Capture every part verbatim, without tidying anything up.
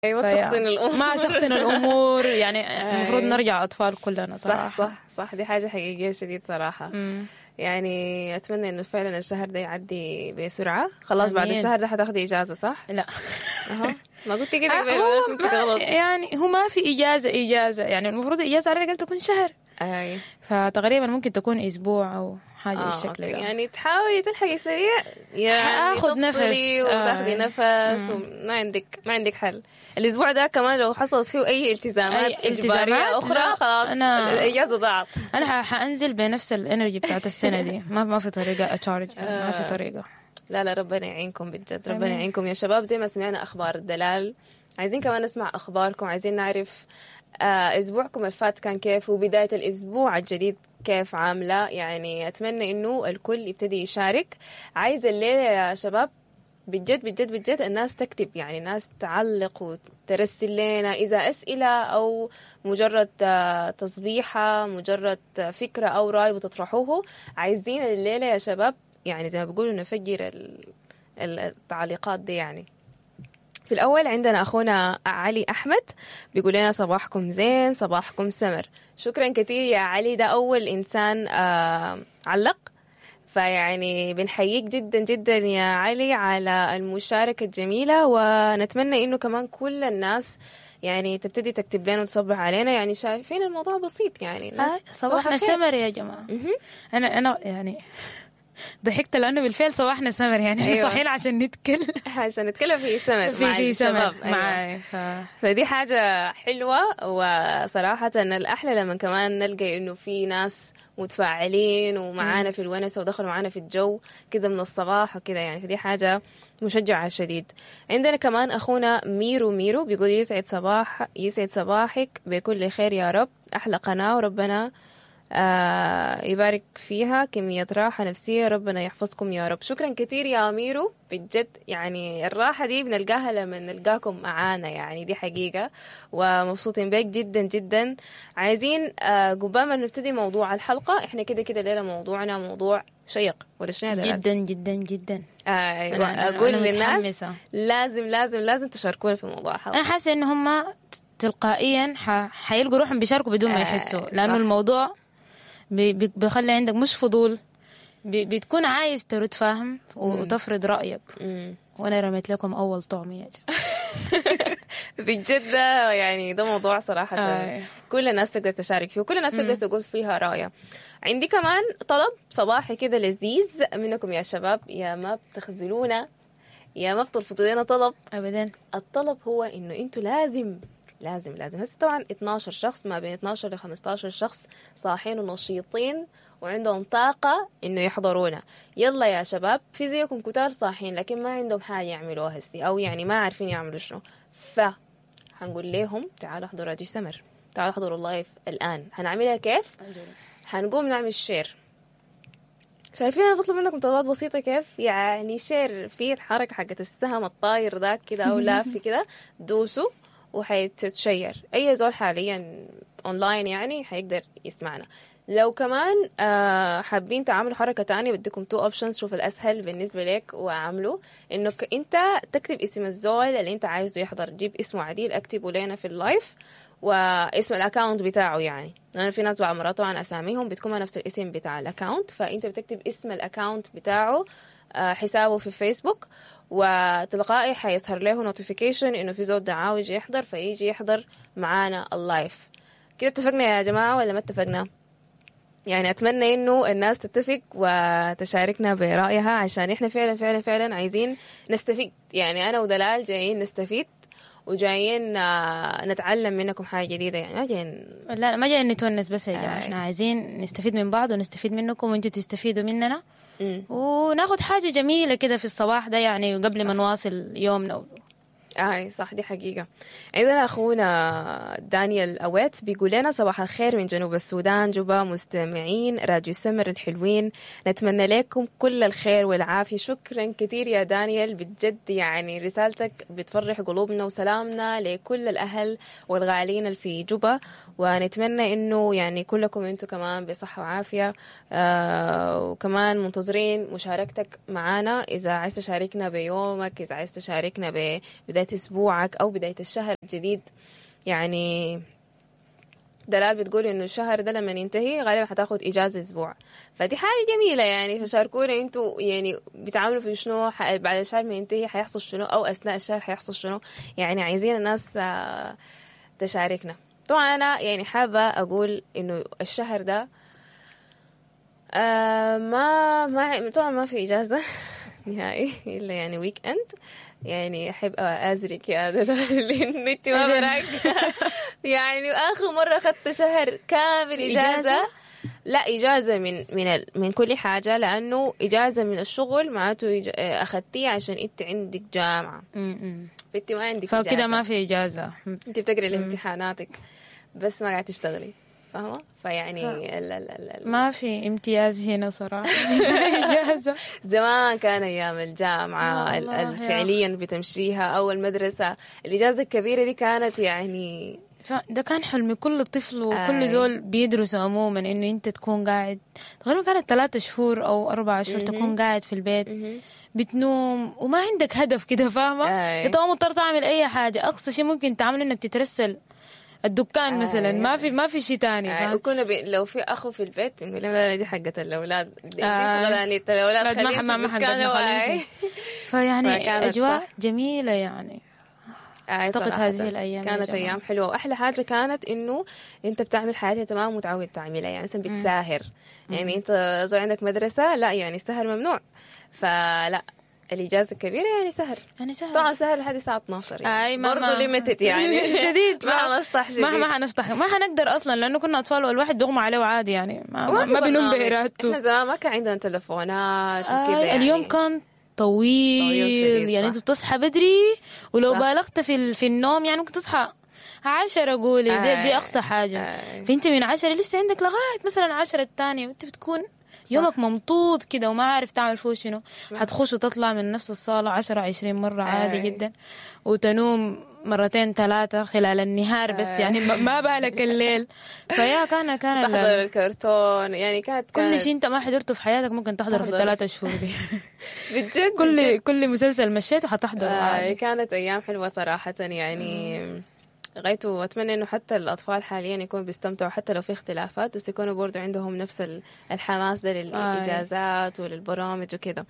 ايوه فيا- تشخصن الامور. ما شخصن الامور، يعني المفروض أي. نرجع اطفال كلنا صح. صراحه. صح صح، دي حاجة حقيقية شديد صراحه. مم. يعني اتمنى انه فعلا الشهر ده يعدي بسرعه. خلاص بعد آمين. الشهر ده حتاخدي اجازه، صح؟ لا. اها، ما قلتي كده آه، قبل؟ هو انا فهمتك ما غلط. يعني هو ما في اجازه اجازه، يعني المفروض الاجازة على الاقل تكون شهر. اي. فتقريبا ممكن تكون اسبوع او حاجة آه، بالشكل okay. ده. يعني تحاولي تلحقي سريع يعني. حاخد تفصلي نفس، آه. وتاخدي نفس، وما عندك ما عندك حل. الاسبوع ده كمان لو حصل فيه اي التزامات أي اجباريه التزامات، اخرى لا، خلاص أنا- الاجازة ضاعت. انا ح- حانزل بنفس ال energy بتاعت السنة دي، ما ما في طريقه ا charge، يعني ما في طريقه. لا لا، ربنا يعينكم بجد، ربنا آمين. يعينكم يا شباب. زي ما سمعنا اخبار الدلال، عايزين كمان نسمع اخباركم، عايزين نعرف آه، اسبوعكم الفات كان كيف وبداية الاسبوع الجديد كيف عامله. يعني اتمنى انه الكل يبتدي يشارك. عايزه الليلة يا شباب بجد بجد بجد الناس تكتب، يعني الناس تعلق وترسل لنا إذا أسئلة أو مجرد آه، تصبيحة، مجرد فكرة أو رأي بتطرحوه. عايزين الليلة يا شباب يعني زي ما بيقولوا نفجر ال- ال- التعليقات دي. يعني في الأول عندنا أخونا علي أحمد بيقول لنا صباحكم زين، صباحكم سمر. شكرا كثير يا علي، ده أول إنسان آه، علق، فيعني بنحييك جدا جدا يا علي على المشاركة الجميلة، ونتمنى إنه كمان كل الناس يعني تبتدي تكتب لنا وتصبح علينا. يعني شايفين الموضوع بسيط يعني الناس آه، صباحنا الخير. سمر يا جماعه. مهم. انا انا يعني ضحكت لانه بالفعل صباحنا سمر، يعني احنا أيوة. صاحيين عشان نتكلم. عشان نتكلم في سمر في مع في سمر. الشباب. أيوة. معي ف... فدي حاجة حلوة، وصراحة الأحلى لما كمان نلقى إنه في ناس متفاعلين ومعانا في الونسة ودخلوا معانا في الجو كده من الصباح وكده، يعني فدي حاجة مشجعة شديد. عندنا كمان أخونا ميرو ميرو بيقول يسعد صباح يسعد صباحك بكل خير يا رب، أحلى قناة وربنا آه يبارك فيها، كمية راحة نفسية، ربنا يحفظكم يا رب. شكرا كثير يا ميرو بجد، يعني الراحة دي بنلقاها لما نلقاكم معانا، يعني دي حقيقة، ومبسوطين بك جدا جدا. عايزين آه قبل ما نبتدي موضوع الحلقة، احنا كده كده الليلة موضوعنا موضوع شيق ولا شنو يا دلال؟ جدا جدا جدا. آه أيوة. أنا- أنا- أقول أنا للناس متحمسة. لازم لازم لازم تشاركونا في موضوع الحلقة. انا حاسه ان هم تلقائيا ح... حيلقوا روحهم بيشاركوا بدون ما آه، يحسوا، لانه صح. الموضوع بي... بي- بيخلي عندك مش فضول، بي... بتكون عايز ترد، فاهم، وتفرض رايك. مم. وانا رميت لكم اول طعم يا جماعه. بجد ده يعني ده موضوع صراحة آه. كل الناس تقدر تشارك فيه وكل الناس تقدر تقول فيها رأيها. عندي كمان طلب صباحي كده لذيذ منكم يا شباب، يا ما بتخذلونا يا ما بترفضوا لنا طلب. ابدا. الطلب هو انه انتوا لازم لازم لازم هسه طبعا اتناشر شخص، ما بين اتناشر ل خمستاشر شخص صاحين ونشيطين وعندهم طاقة انه يحضرونا. يلا يا شباب، في زيكم كتار صاحين لكن ما عندهم حاجة يعملوها هسي، او يعني ما عارفين يعملوا شنو، ف هنقول لهم تعالوا احضروا راديو سمر، تعالوا احضروا ال live الان. هنعملها كيف؟ هنقوم نعمل share. شايفين انا بطلب منكم طلبات بسيطة كيف؟ يعني share في الحركة حقت السهم الطاير ذاك كده او لافي كده، دوسوا وحيتشير. اي زول حاليا اونلاين يعني حيقدر يسمعنا. لو كمان آه حابين تعملوا حركة تانية، بديكم two options، شوف الاسهل بالنسبة لك واعمله. انك انت تكتب اسم الزول اللي انت عايزه يحضر، جيب اسمه عديل اكتبه لنا في ال live واسم ال account بتاعه، يعني لانه في ناس بعض مرات طبعا اساميهم بتكون نفس الاسم بتاع ال account، فانت بتكتب اسم ال account بتاعه، آه، حسابه في فيسبوك، وتلقائي حيظهر له notification انه في زول دعاه يجي يحضر، فيجي يحضر معانا ال live. كده اتفقنا يا جماعة ولا ما اتفقنا؟ يعني اتمنى انه الناس تتفق وتشاركنا برايها عشان احنا فعلا فعلا فعلا عايزين نستفيد. يعني انا ودلال جايين نستفيد وجايين آه، نتعلم منكم حاجة جديده، يعني ما جايين لا لا، ما جايين نتونس بس يا جماعه. آي. احنا عايزين نستفيد من بعض ونستفيد منكم وانتوا تستفيدوا مننا مم. وناخد حاجة جميلة كده في الصباح ده، يعني قبل ما نواصل يومنا. اي صح، دي حقيقة. عندنا اخونا دانيال اويت بيقول لنا صباح الخير من جنوب السودان جوبا، مستمعين راديو سمر الحلوين، نتمنى لكم كل الخير والعافية. شكرا كثير يا دانيال بجد، يعني رسالتك بتفرح قلوبنا، وسلامنا لكل الاهل والغالين اللي في جوبا، ونتمنى انه يعني كلكم انتم كمان بصحة وعافية. آه وكمان منتظرين مشاركتك معنا، اذا عايز تشاركنا بيومك، اذا عايز تشاركنا ببداية بداية اسبوعك او بداية الشهر الجديد. يعني دلال بتقول انه الشهر ده لما ينتهي غالبا حتاخد اجازه اسبوع، فدي حاجة جميلة يعني. فشاركونا انتوا يعني بتعملوا في شنو، ح- بعد الشهر ما ينتهي حيحصل شنو، او اثناء الشهر حيحصل شنو. يعني عايزين الناس آه، تشاركنا. طبعا انا يعني حابة اقول انه الشهر ده آه ما ما طبعا ما في اجازه نهائي الا يعني weekend. يعني احب ازرك يا دلال لانه انت ما أجل. براك. يعني اخر مرة اخذت شهر كامل اجازه, إجازة؟ لا اجازه من من ال- من كل حاجة، لانه اجازه من الشغل معناته إج- اخذتيه عشان انت عندك جامعه، م-م. فانت ما عندك فكده إجازة. ما في اجازه. انت بتقري لامتحاناتك بس ما قاعد تشتغلي، فاهمه؟ فيعني ال ال ال ال ما في امتياز هنا صراحة. اجازه. زمان كان ايام الجامعة يا ال- الله ال- يا. فعليا بتمشيها او المدرسة، الاجازة الكبيرة دي كانت يعني ده كان حلم كل طفل وكل آي. زول بيدرس عموما، انه انت تكون قاعد تقريبا كانت ثلاثة شهور او اربعة شهور تكون قاعد في البيت بتنوم وما عندك هدف كده، فاهمه؟ آي. انت ما مضطر تعمل اي حاجة، اقصى شيء ممكن تعمله انك تترسل الدكان مثلا، ما في ما في شيء تاني، آه، فاهم؟ وكنا بي... لو في اخو في البيت بنقول لهم لا لا دي حقة الاولاد، دي, دي آه. شغلانية الاولاد، لا، ما خليهم ما ما الدكان حقتنا، خليهم واي. يمشوا. فيعني فكانت اجواء صح. جميلة يعني. آه، افتقد صراحة. هذه الأيام يا كانت جماعة. ايام حلوة، واحلى حاجة كانت انه انت بتعمل حياتك تمام متعود تعملها، يعني مثلا بتساهر، يعني انت زي عندك مدرسه، لا يعني السهر ممنوع، فلا الاجازة الكبيرة يعني سهر. يعني سهر. طبعا سهر لحد الساعة اتناشر يعني اي ما برضه ما- limited يعني. شديد. ما حنشطح شديد. ما ما حنشطح، ما حنقدر اصلا لانه كنا اطفال والواحد بيغمى عليه عادي يعني، ما, وما ما, في ما بينوم برنامج. بارادته. احنا زمان ما كان عندنا تلفونات وكده آه يعني. اليوم كان طويل, طويل شديد، يعني صح. انت بتصحى بدري، ولو صح. بالغت في ال- في النوم يعني ممكن تصحى عشرة قولي دي, دي آي. اقصى حاجة. آي. فانت من عشرة لسه عندك لغاية مثلا عشرة الثانية، وانت بتكون يومك ممطوط كده وما عارف تعمل فيه شنو. حتخش وتطلع من نفس الصالة عشرة عشرين مرة عادي آي. جدا، وتنوم مرتين ثلاثة خلال النهار بس آي. يعني ما- ما بالك الليل. فيا كان كان ال- تحضر الكرتون يعني كانت كل كانت شيء انت ما حضرته في حياتك ممكن تحضره في تحضره. الثلاثة شهور دي. بجد كل كل مسلسل مشيته حتحضره آه عادي. كانت أيام حلوة صراحة يعني. غايته وأتمنى إنه حتى الأطفال حاليا يكونوا بيستمتعوا حتى لو في اختلافات، بس يكونوا برضو عندهم نفس ال- الحماس ده للإجازات وللبرامج وكده.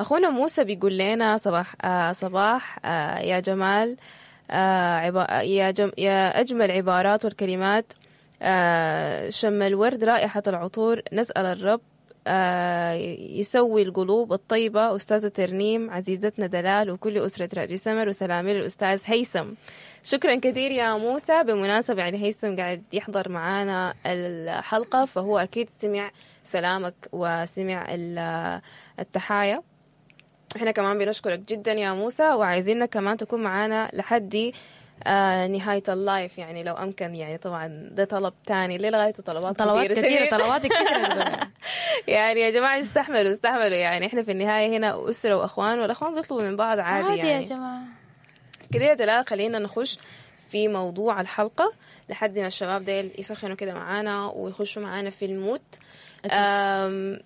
أخونا موسى بيقول لنا صباح آه صباح آه يا جمال، آه عبا يا جم يا أجمل عبارات والكلمات، آه شم الورد رائحة العطور، نسأل الرب آه، يسوي القلوب الطيبة. أستاذة ترنيم عزيزتنا دلال وكل أسرة راديو سمر، وسلامي للأستاذ هيثم. شكرا كثير يا موسى. بمناسبة يعني هيثم قاعد يحضر معانا الحلقة، فهو أكيد سمع سلامك وسمع ال- التحايا. احنا كمان بنشكرك جدا يا موسى، وعايزينك كمان تكون معانا لحد آه نهاية ال live يعني لو أمكن، يعني طبعا ده طلب تاني ليه لغايته طلبات طلبات كثيرة كثيرة، شديد. طلبات كثيرة. يعني يا جماعة استحملوا استحملوا، يعني احنا في النهاية هنا أسرة وأخوان، والأخوان بيطلبوا من بعض عادي, عادي يعني يا جماعة. كده يا دلال خلينا نخش في موضوع الحلقة لحد ما الشباب ديل يسخنوا كده معانا ويخشوا معانا في ال mood. أم،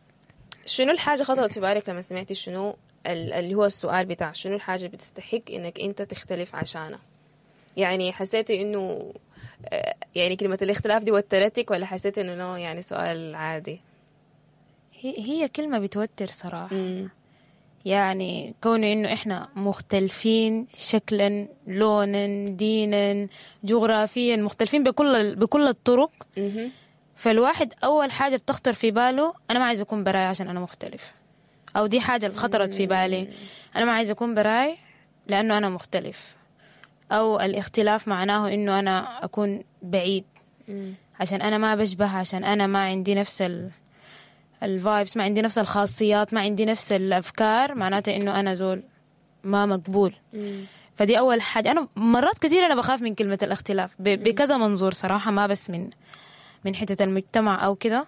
شنو الحاجة خطرت في بالك لما سمعتي شنو ال- اللي هو السؤال بتاع شنو الحاجة بتستحق انك انت تختلف عشانها؟ يعني حسيتي انه آه، يعني كلمة الاختلاف دي وترتك، ولا حسيتي انه no يعني سؤال عادي؟ هي هي كلمة بتوتر صراحة. مم. يعني كونه انه احنا مختلفين شكلا، لونا، دينا، جغرافيا، مختلفين بكل بكل الطرق. مهم. فالواحد اول حاجة بتخطر في باله انا ما عايز اكون براي عشان انا مختلف، او دي حاجة اللي خطرت في بالي، انا ما عايز اكون براي لانه انا مختلف، او الاختلاف معناه انه انا اكون بعيد مم. عشان انا ما بشبه، عشان انا ما عندي نفس ال ال vibes، ما عندي نفس الخاصيات، ما عندي نفس الافكار، معناته انه انا زول ما مقبول. مم. فدي اول حاجة. انا مرات كثير انا بخاف من كلمة الاختلاف ب- بكذا منظور صراحة، ما بس من من حتة المجتمع او كده،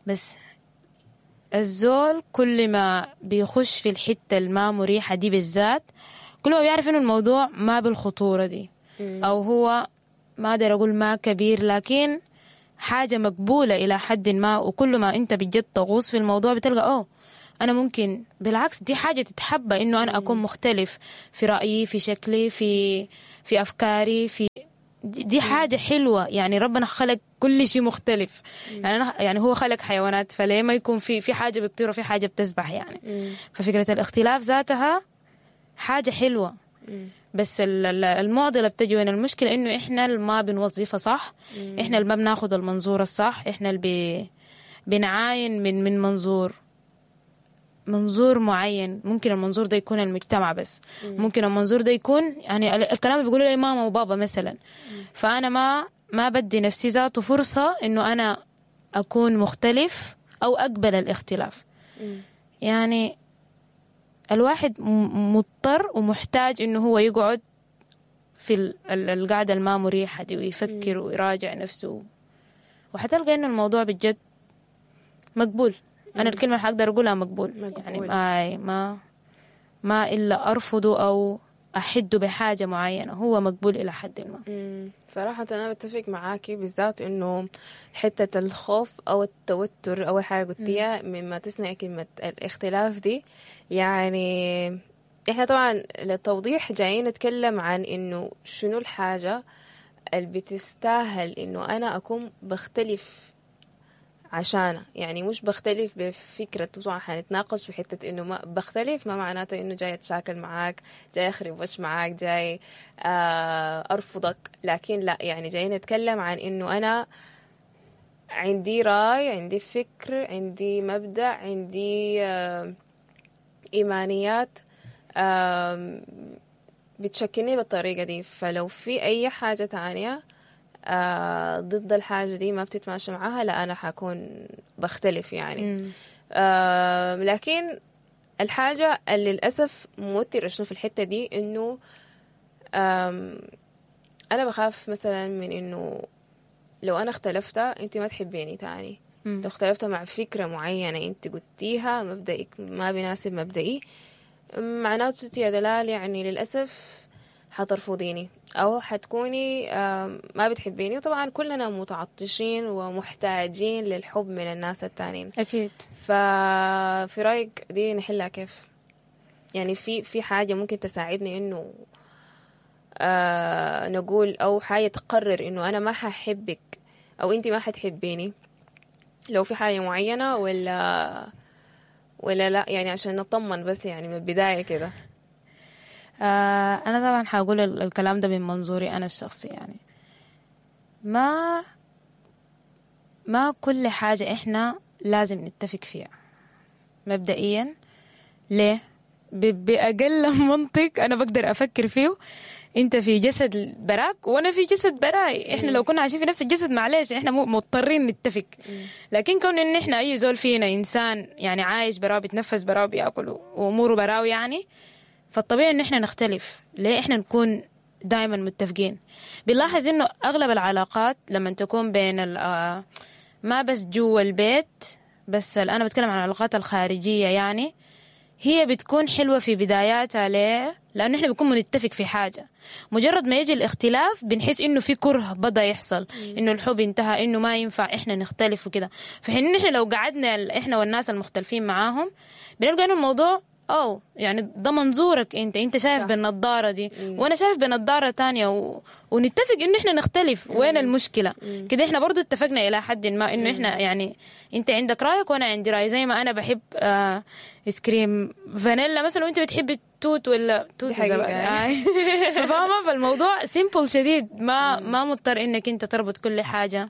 بس الزول كل ما بيخش في الحتة الما مريحه دي بالذات، كل ما بيعرف انه الموضوع ما بالخطوره دي، او هو ما اقدر اقول ما كبير، لكن حاجة مقبولة الى حد ما. وكل ما انت بجد تغوص في الموضوع بتلقى اوه انا ممكن بالعكس دي حاجة تتحبى انه انا اكون مختلف في رايي، في شكلي، في في افكاري، في دي دي حاجة حلوة. يعني ربنا خلق كل شيء مختلف. يعني أنا يعني هو خلق حيوانات، فليه ما يكون في في حاجة بتطير وفي حاجة بتسبح يعني. ففكره الاختلاف ذاتها حاجة حلوة. بس ال- ال- المعضلة بتجي وين؟ المشكلة انه احنا اللي ما بنوظفها صح، احنا اللي ما بناخد المنظور الصح، احنا اللي بي بنعاين من من منظور منظور معين. ممكن المنظور ده يكون المجتمع بس، ممكن المنظور ده يكون يعني ال- الكلام اللي بيقولوا لي ماما وبابا مثلا. فأنا ما ما بدي نفسي ذاته فرصة إنه أنا أكون مختلف أو أقبل الاختلاف. يعني الواحد م- مضطر ومحتاج إنه هو يقعد في ال- ال- القعدة الما مريحة دي ويفكر ويراجع نفسه، وحتلقى إنه الموضوع بجد مقبول. أنا الكلمة اللي حقدر أقولها مقبول. مقبول. يعني ما ما ما إلا أرفضه أو أحده بحاجة معينة، هو مقبول إلى حد ما. مم. صراحة أنا بتفق معاكي، بالذات إنه حتة الخوف أو التوتر أول حاجة قلتيها مما تسمعي كلمة الاختلاف دي. يعني إحنا طبعا للتوضيح جايين نتكلم عن إنه شنو الحاجة اللي بتستاهل إنه أنا أكون بختلف عشانها. يعني مش بختلف بفكرة، طبعا حنتناقش في حتة إنه ما بختلف ما معناته إنه جاي أتشاكل معاك، جاي أخرب وش معاك، جاي آه، أرفضك، لكن لا، يعني جاي نتكلم عن إنه أنا عندي رأي، عندي فكر، عندي مبدأ، عندي آه، إيمانيات آم، بتشكلني بالطريقة دي. فلو في أي حاجة تانية آه، ضد الحاجة دي ما بتتماشى معاها، لا أنا حكون بختلف يعني. آه، لكن الحاجة اللي للأسف موترة شنو في الحتة دي، إنه آم، أنا بخاف مثلا من إنه لو أنا اختلفت أنت ما تحبيني تاني. مم. لو اختلفت مع فكرة معينة أنت قلتيها، مبدئك ما بيناسب مبدئي، معناته يا دلال يعني للأسف حترفضيني أو حتكوني آم، ما بتحبيني. وطبعا كلنا متعطشين ومحتاجين للحب من الناس التانيين. أكيد. ففي رأيك دي نحلها كيف؟ يعني في في حاجة ممكن تساعدني إنه آه نقول، أو حاجة تقرر إنه أنا ما ححبك أو أنت ما حتحبيني لو في حاجة معينة، ولا ولا لا؟ يعني عشان نطمن بس يعني من البداية كده. آه أنا طبعا حقول ال- الكلام ده من منظوري أنا الشخصي. يعني ما ما كل حاجة إحنا لازم نتفق فيها مبدئيا. ليه؟ ب- بأقل منطق أنا بقدر أفكر فيه، أنت في جسد براك وأنا في جسد براي. إحنا لو كنا عايشين في نفس الجسد معلش إحنا مو مضطرين نتفق، لكن كون إن إحنا أي زول فينا إنسان يعني عايش براه، بيتنفس براه، بياكل وأموره براه يعني، فالطبيعي إن إحنا نختلف. ليه إحنا نكون دائما متفقين؟ بنلاحظ إنه أغلب العلاقات لما تكون بين ال- آه، ما بس جوا البيت بس، أنا بتكلم عن العلاقات الخارجية يعني، هي بتكون حلوة في بداياتها. ليه؟ لأنه إحنا بنكون بنتفق في حاجة، مجرد ما يجي الاختلاف بنحس إنه في كره بدأ يحصل، إنه الحب انتهى، إنه ما ينفع إحنا نختلف وكده. في حين إن إحنا لو قعدنا ال- إحنا والناس المختلفين معاهم بنلقى إنه الموضوع أو يعني ده منظورك أنت، أنت شايف صح. بالنظارة دي وأنا شايف بنظارة تانية و... ونتفق إنه إحنا نختلف. وين المشكلة؟ كده إحنا برضو اتفقنا إلى حد ما إنه إحنا يعني أنت عندك رأيك وأنا عندي رأي. زي ما أنا بحب آه آيس كريم فانيلا مثلا وأنت بتحب التوت ولا توت دي حقيقة وزبادي. يعني. آي. ففاهمة؟ فالموضوع simple شديد، ما ما مضطر إنك أنت تربط كل حاجة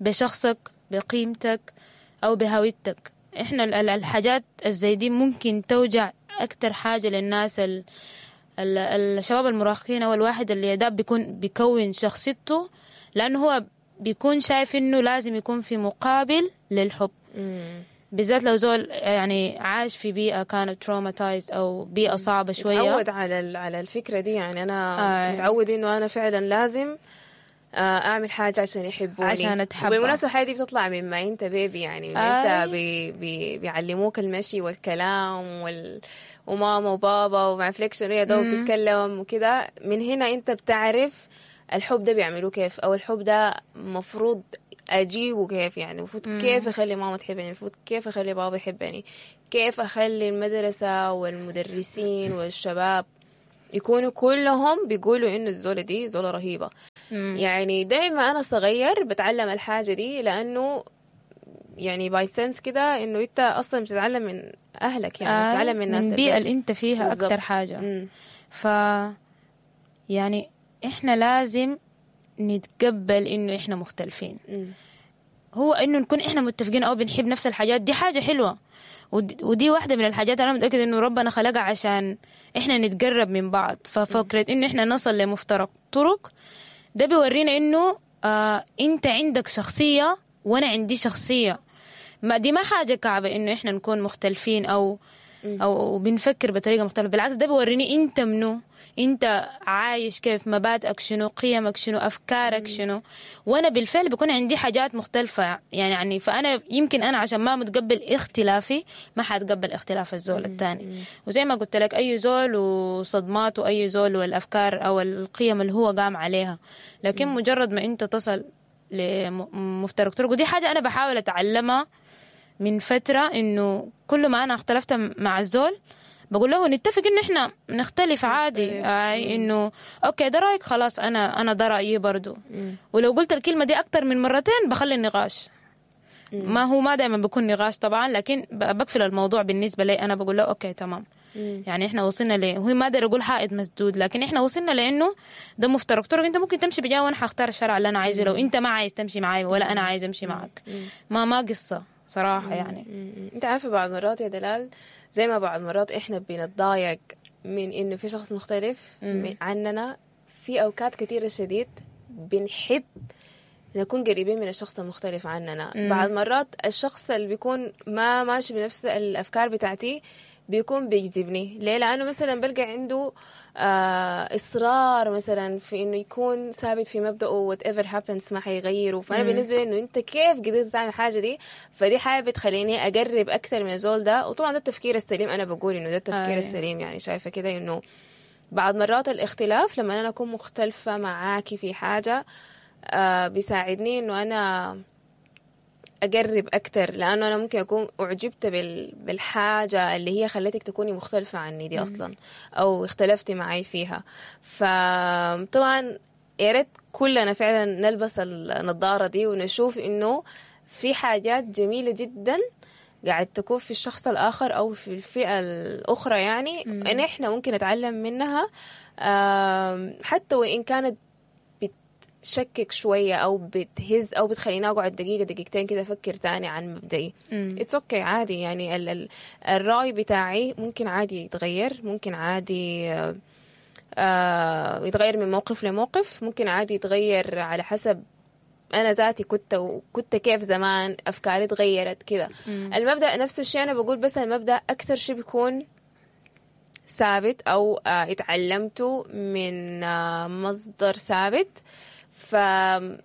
بشخصك، بقيمتك أو بهويتك. إحنا ال- ال- الحاجات الزي دي ممكن توجع أكتر حاجة للناس ال ال الشباب المراهقين أو الواحد اللي ده بيكون بيكون شخصيته، لأنه هو بيكون شايف إنه لازم يكون في مقابل للحب. بالذات لو زول يعني عاش في بيئة كانت traumatized أو بيئة صعبة شوية. متعود على ال- على الفكرة دي يعني. أنا آه. متعود إنه أنا فعلا لازم آه، أعمل حاجة عشان يحبوني، عشان أتحب. وبالمناسبة الحاجة دي بتطلع من ما أنت baby يعني، من أنت آي. بي بي بيعلموك المشي والكلام وال وماما وبابا وما فليكشن يا دوب تتكلم وكده. من هنا أنت بتعرف الحب ده بيعملوه كيف، أو الحب ده مفروض اجيبه كيف يعني، المفروض كيف اخلي ماما تحبني، المفروض كيف اخلي بابا يحبني، كيف اخلي المدرسة والمدرسين والشباب يكونوا كلهم بيقولوا انه الزولة دي زولة رهيبة. مم. يعني دايما انا صغير بتعلم الحاجة دي، لانه يعني by sense كده انه انت اصلا بتتعلم من اهلك، يعني آه، بتتعلم من ناس من البيئة البيت. اللي انت فيها بالظبط. أكتر حاجة. مم. ف يعني احنا لازم نتقبل انه احنا مختلفين. مم. هو انه نكون احنا متفقين او بنحب نفس الحاجات دي حاجة حلوة، ودي, ودي واحدة من الحاجات انا متاكدة انه ربنا خلقها عشان احنا نتقرب من بعض. ففكره انه احنا نصل لمفترق طرق ده بيورينا انه آه انت عندك شخصية وانا عندي شخصية، ما دي ما حاجة كعبه انه احنا نكون مختلفين او او بنفكر بطريقة مختلفة. بالعكس ده بيوريني انت منو، انت عايش كيف، مبادئك شنو، قيمك شنو، افكارك شنو. وانا بالفعل بيكون عندي حاجات مختلفة يعني يعني فانا يمكن انا عشان ما متقبل اختلافي ما حاتقبل اختلاف الزول الثاني. وزي ما قلت لك اي زول وصدماته، اي زول والافكار او القيم اللي هو قام عليها. لكن مجرد ما انت تصل لمفترق طرق، ودي حاجة انا بحاول اتعلمها من فترة، إنه كل ما أنا اختلفت مع الزول بقول له نتفق إنه إحنا نختلف عادي، آي إنه okay ده رأيك خلاص أنا أنا ده رأيي برضو. ولو قلت الكلمة دي أكتر من مرتين بخلي النقاش، ما هو ما دائما بيكون نقاش طبعا، لكن ب- بقفل الموضوع بالنسبة لي أنا، بقول له okay تمام. يعني إحنا وصلنا ل هو ما أقدر أقول حائط مسدود، لكن إحنا وصلنا لأنه ده مفترق طرق، أنت ممكن تمشي بجاه وأنا حختار الشارع اللي أنا عايزه، لو أنت ما عايز تمشي معاي ولا أنا عايز أمشي معك، ما ما قصة صراحة يعني. مم. انت عارفة بعض مرات يا دلال، زي ما بعض مرات احنا بنتضايق من انه في شخص مختلف من عننا، في اوقات كثيرة شديد بنحب نكون قريبين من الشخص المختلف عننا. مم. بعض مرات الشخص اللي بيكون ما ماشي بنفس الافكار بتاعتي بيكون بيجذبني. ليه؟ لانه مثلا بلقى عنده آه اصرار مثلا في انه يكون ثابت في مبدأه whatever happens ما حيغيره. فانا بالنسبة لي انه انت كيف قدرت تعمل الحاجة دي، فدي حاجة بتخليني اقرب اكثر من الزول ده. وطبعا ده التفكير السليم، انا بقول انه ده التفكير آه. السليم. يعني شايفه كده انه بعض مرات الاختلاف لما انا اكون مختلفة معاكي في حاجة آه بيساعدني انه انا اقرب اكتر، لانه انا ممكن اكون اعجبت بال... بالحاجة اللي هي خلتك تكوني مختلفة عني دي اصلا، او اختلفتي معي فيها. فطبعا يا ريت كلنا فعلا نلبس النظارة دي ونشوف انه في حاجات جميلة جدا قاعد تكون في الشخص الاخر او في الفئة الاخرى، يعني ان احنا ممكن نتعلم منها، آم، حتى وان كانت بتشكك شوية أو بتهز أو بتخليني أقعد دقيقة دقيقتين كده أفكر تاني عن مبدئي. it's okay عادي، يعني ال ال الرأي بتاعي ممكن عادي يتغير، ممكن عادي آه، آه، يتغير من موقف لموقف، ممكن عادي يتغير على حسب أنا ذاتي كنت وكنت كيف زمان، أفكاري تغيرت كده. المبدأ نفس الشيء، أنا بقول بس المبدأ أكثر شيء بيكون ثابت أو آه، اتعلمته من آه، مصدر ثابت، فلازم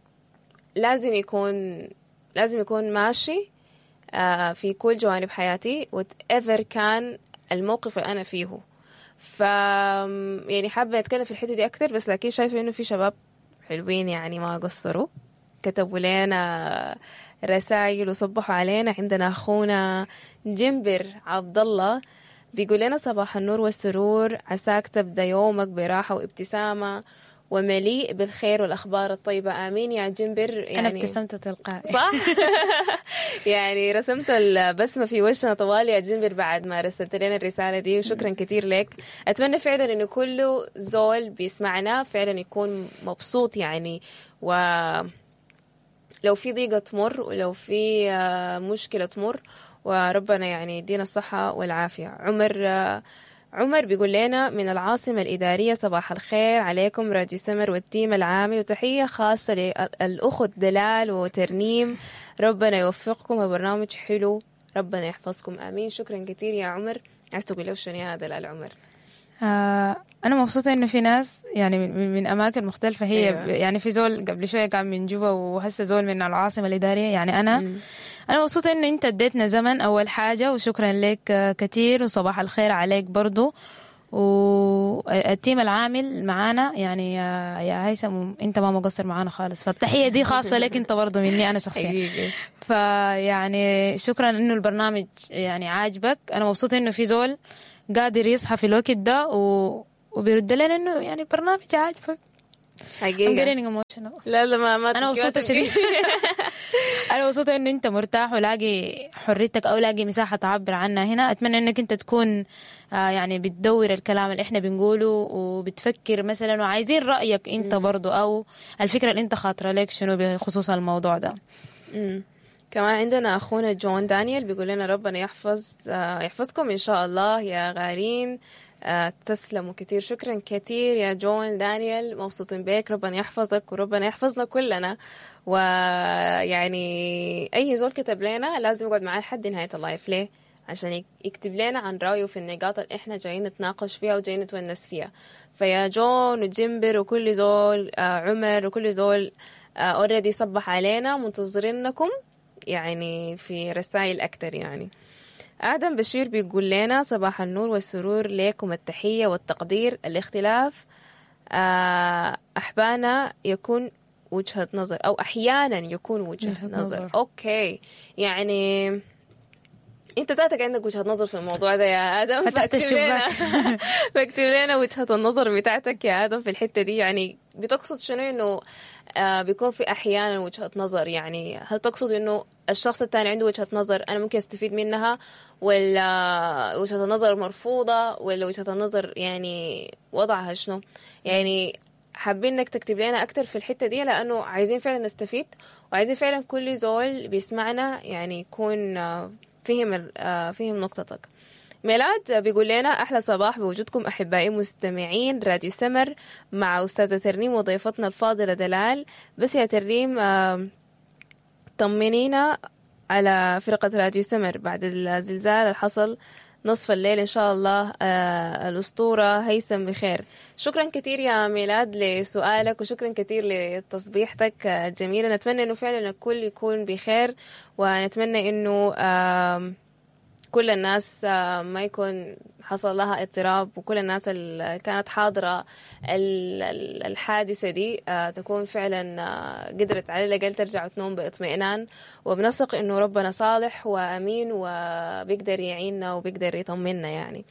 يكون لازم يكون ماشي آه، في كل جوانب حياتي whatever كان الموقف اللي أنا فيه. ف يعني حابة أتكلم في الحتة دي أكتر، بس لكن شايفة إنه في شباب حلوين يعني ما قصروا، كتبوا لنا رسائل وصبحوا علينا. عندنا أخونا جنبر عبد الله بيقول لنا صباح النور والسرور، عساك تبدأ يومك براحة وابتسامة ومليء بالخير والأخبار الطيبة. آمين يا جنبر. يعني أنا ابتسمت تلقائي صح؟ يعني رسمت البسمة في وشنا طوال يا جنبر بعد ما رسلت لنا الرسالة دي، وشكرا كثير لك. أتمنى فعلا إنه كل زول بيسمعنا فعلا يكون مبسوط، يعني و لو في ضيقة تمر ولو في آه، مشكلة تمر، وربنا يعني يدينا الصحة والعافية. عمر آه، عمر بيقول لنا من العاصمة الإدارية صباح الخير عليكم راجي سمر وال team العامي، وتحية خاصة للأخت دلال وترنيم، ربنا يوفقكم وبرنامج حلو، ربنا يحفظكم آمين. شكرا كثير يا عمر. عايز تقول له شنو يا دلال عمر؟ آه أنا مبسوطة إنه في ناس يعني من, من أماكن مختلفة هي. أيوة. يعني في زول قبل شوية كان من جوبا وهسه زول من العاصمة الإدارية. يعني أنا مم. أنا مبسوطة إنه أنت اديتنا زمن أول حاجة، وشكرا لك آه، كثير، وصباح الخير عليك برضو. وال team العامل معانا يعني يا يا هيثم انت ما مقصر معانا خالص، فالتحيه دي خاصة لك انت برضه مني انا شخصيا. حقيقي. فيعني شكرا انه البرنامج يعني عاجبك. انا مبسوطة انه في زول قادر يصحى في الوقت ده و... وبيرد لنا انه يعني البرنامج عاجبك. I'm حقيقة. getting emotional. لا لا ما ما انا تبكي، ما مبسوطة تبكي. شديد. انا مبسوطة انه انت مرتاح ولاقي حريتك او لاقي مساحة تعبر عنها هنا. اتمنى انك انت تكون آه، يعني بتدور الكلام اللي احنا بنقوله وبتفكر مثلا، وعايزين رايك انت برضو او الفكرة اللي انت خاطره لك شنو بخصوص الموضوع ده. مم. كمان عندنا أخونا جون دانيال بيقول لنا ربنا يحفظ آه، يحفظكم إن شاء الله يا غالين. آه، تسلموا كثير، شكرا كثير يا جون دانيال، مبسوطين بك، ربنا يحفظك وربنا يحفظنا كلنا. ويعني أي زول كتب لنا لازم يقعد معاه لحد نهاية ال live، ليه؟ عشان يك- يكتب لنا عن رأيه في النقاط اللي احنا جايين نتناقش فيها وجايين نتونس فيها. فيا جون وجيمبر وكل زول، آه، عمر وكل زول already صبح علينا، منتظرينكم يعني في رسائل أكتر. يعني آدم بشير بيقول لنا صباح النور والسرور لكم، التحية والتقدير. الاختلاف آه، أحبانا يكون وجهة نظر، أو أحيانا يكون وجهة وجهة نظر. نظر. okay، يعني انت ذاتك عندك وجهة نظر في الموضوع ده يا ادم، فتحت فاكتب لنا الشباك. فاكتب لنا وجهة النظر بتاعتك يا ادم في الحتة دي. يعني بتقصد شنو انه آه بيكون في احيانا وجهة نظر؟ يعني هل تقصد انه الشخص الثاني عنده وجهة نظر انا ممكن استفيد منها، ولا وجهة النظر مرفوضة، ولا وجهة النظر يعني وضعها شنو؟ يعني حابين انك تكتب لنا اكتر في الحتة دي، لانه عايزين فعلا نستفيد، وعايزين فعلا كل زول بيسمعنا يعني يكون آه، فهم ال- آه، فهم نقطتك. ميلاد بيقول لنا أحلى صباح بوجودكم أحبائي مستمعين راديو سمر مع أستاذة ترنيم وضيفتنا الفاضلة دلال. بس يا ترنيم آه، طمنينا على فرقة راديو سمر بعد الزلزال اللي حصل نصف الليل إن شاء الله. آه الأسطورة هيثم بخير. شكرا كثير يا ميلاد لسؤالك، وشكرا كثير لتصبيحتك آه، الجميلة. نتمنى إنه فعلا الكل يكون بخير، ونتمنى إنه آم، كل الناس آه، ما يكون حصل لها اضطراب، وكل الناس اللي كانت حاضرة ال- ال- الحادثة دي آه، تكون فعلا آه، قدرت على الأقل ترجع وتنوم باطمئنان. وبنثق إنه ربنا صالح وأمين وبيقدر يعيننا وبيقدر يطمنا. يعني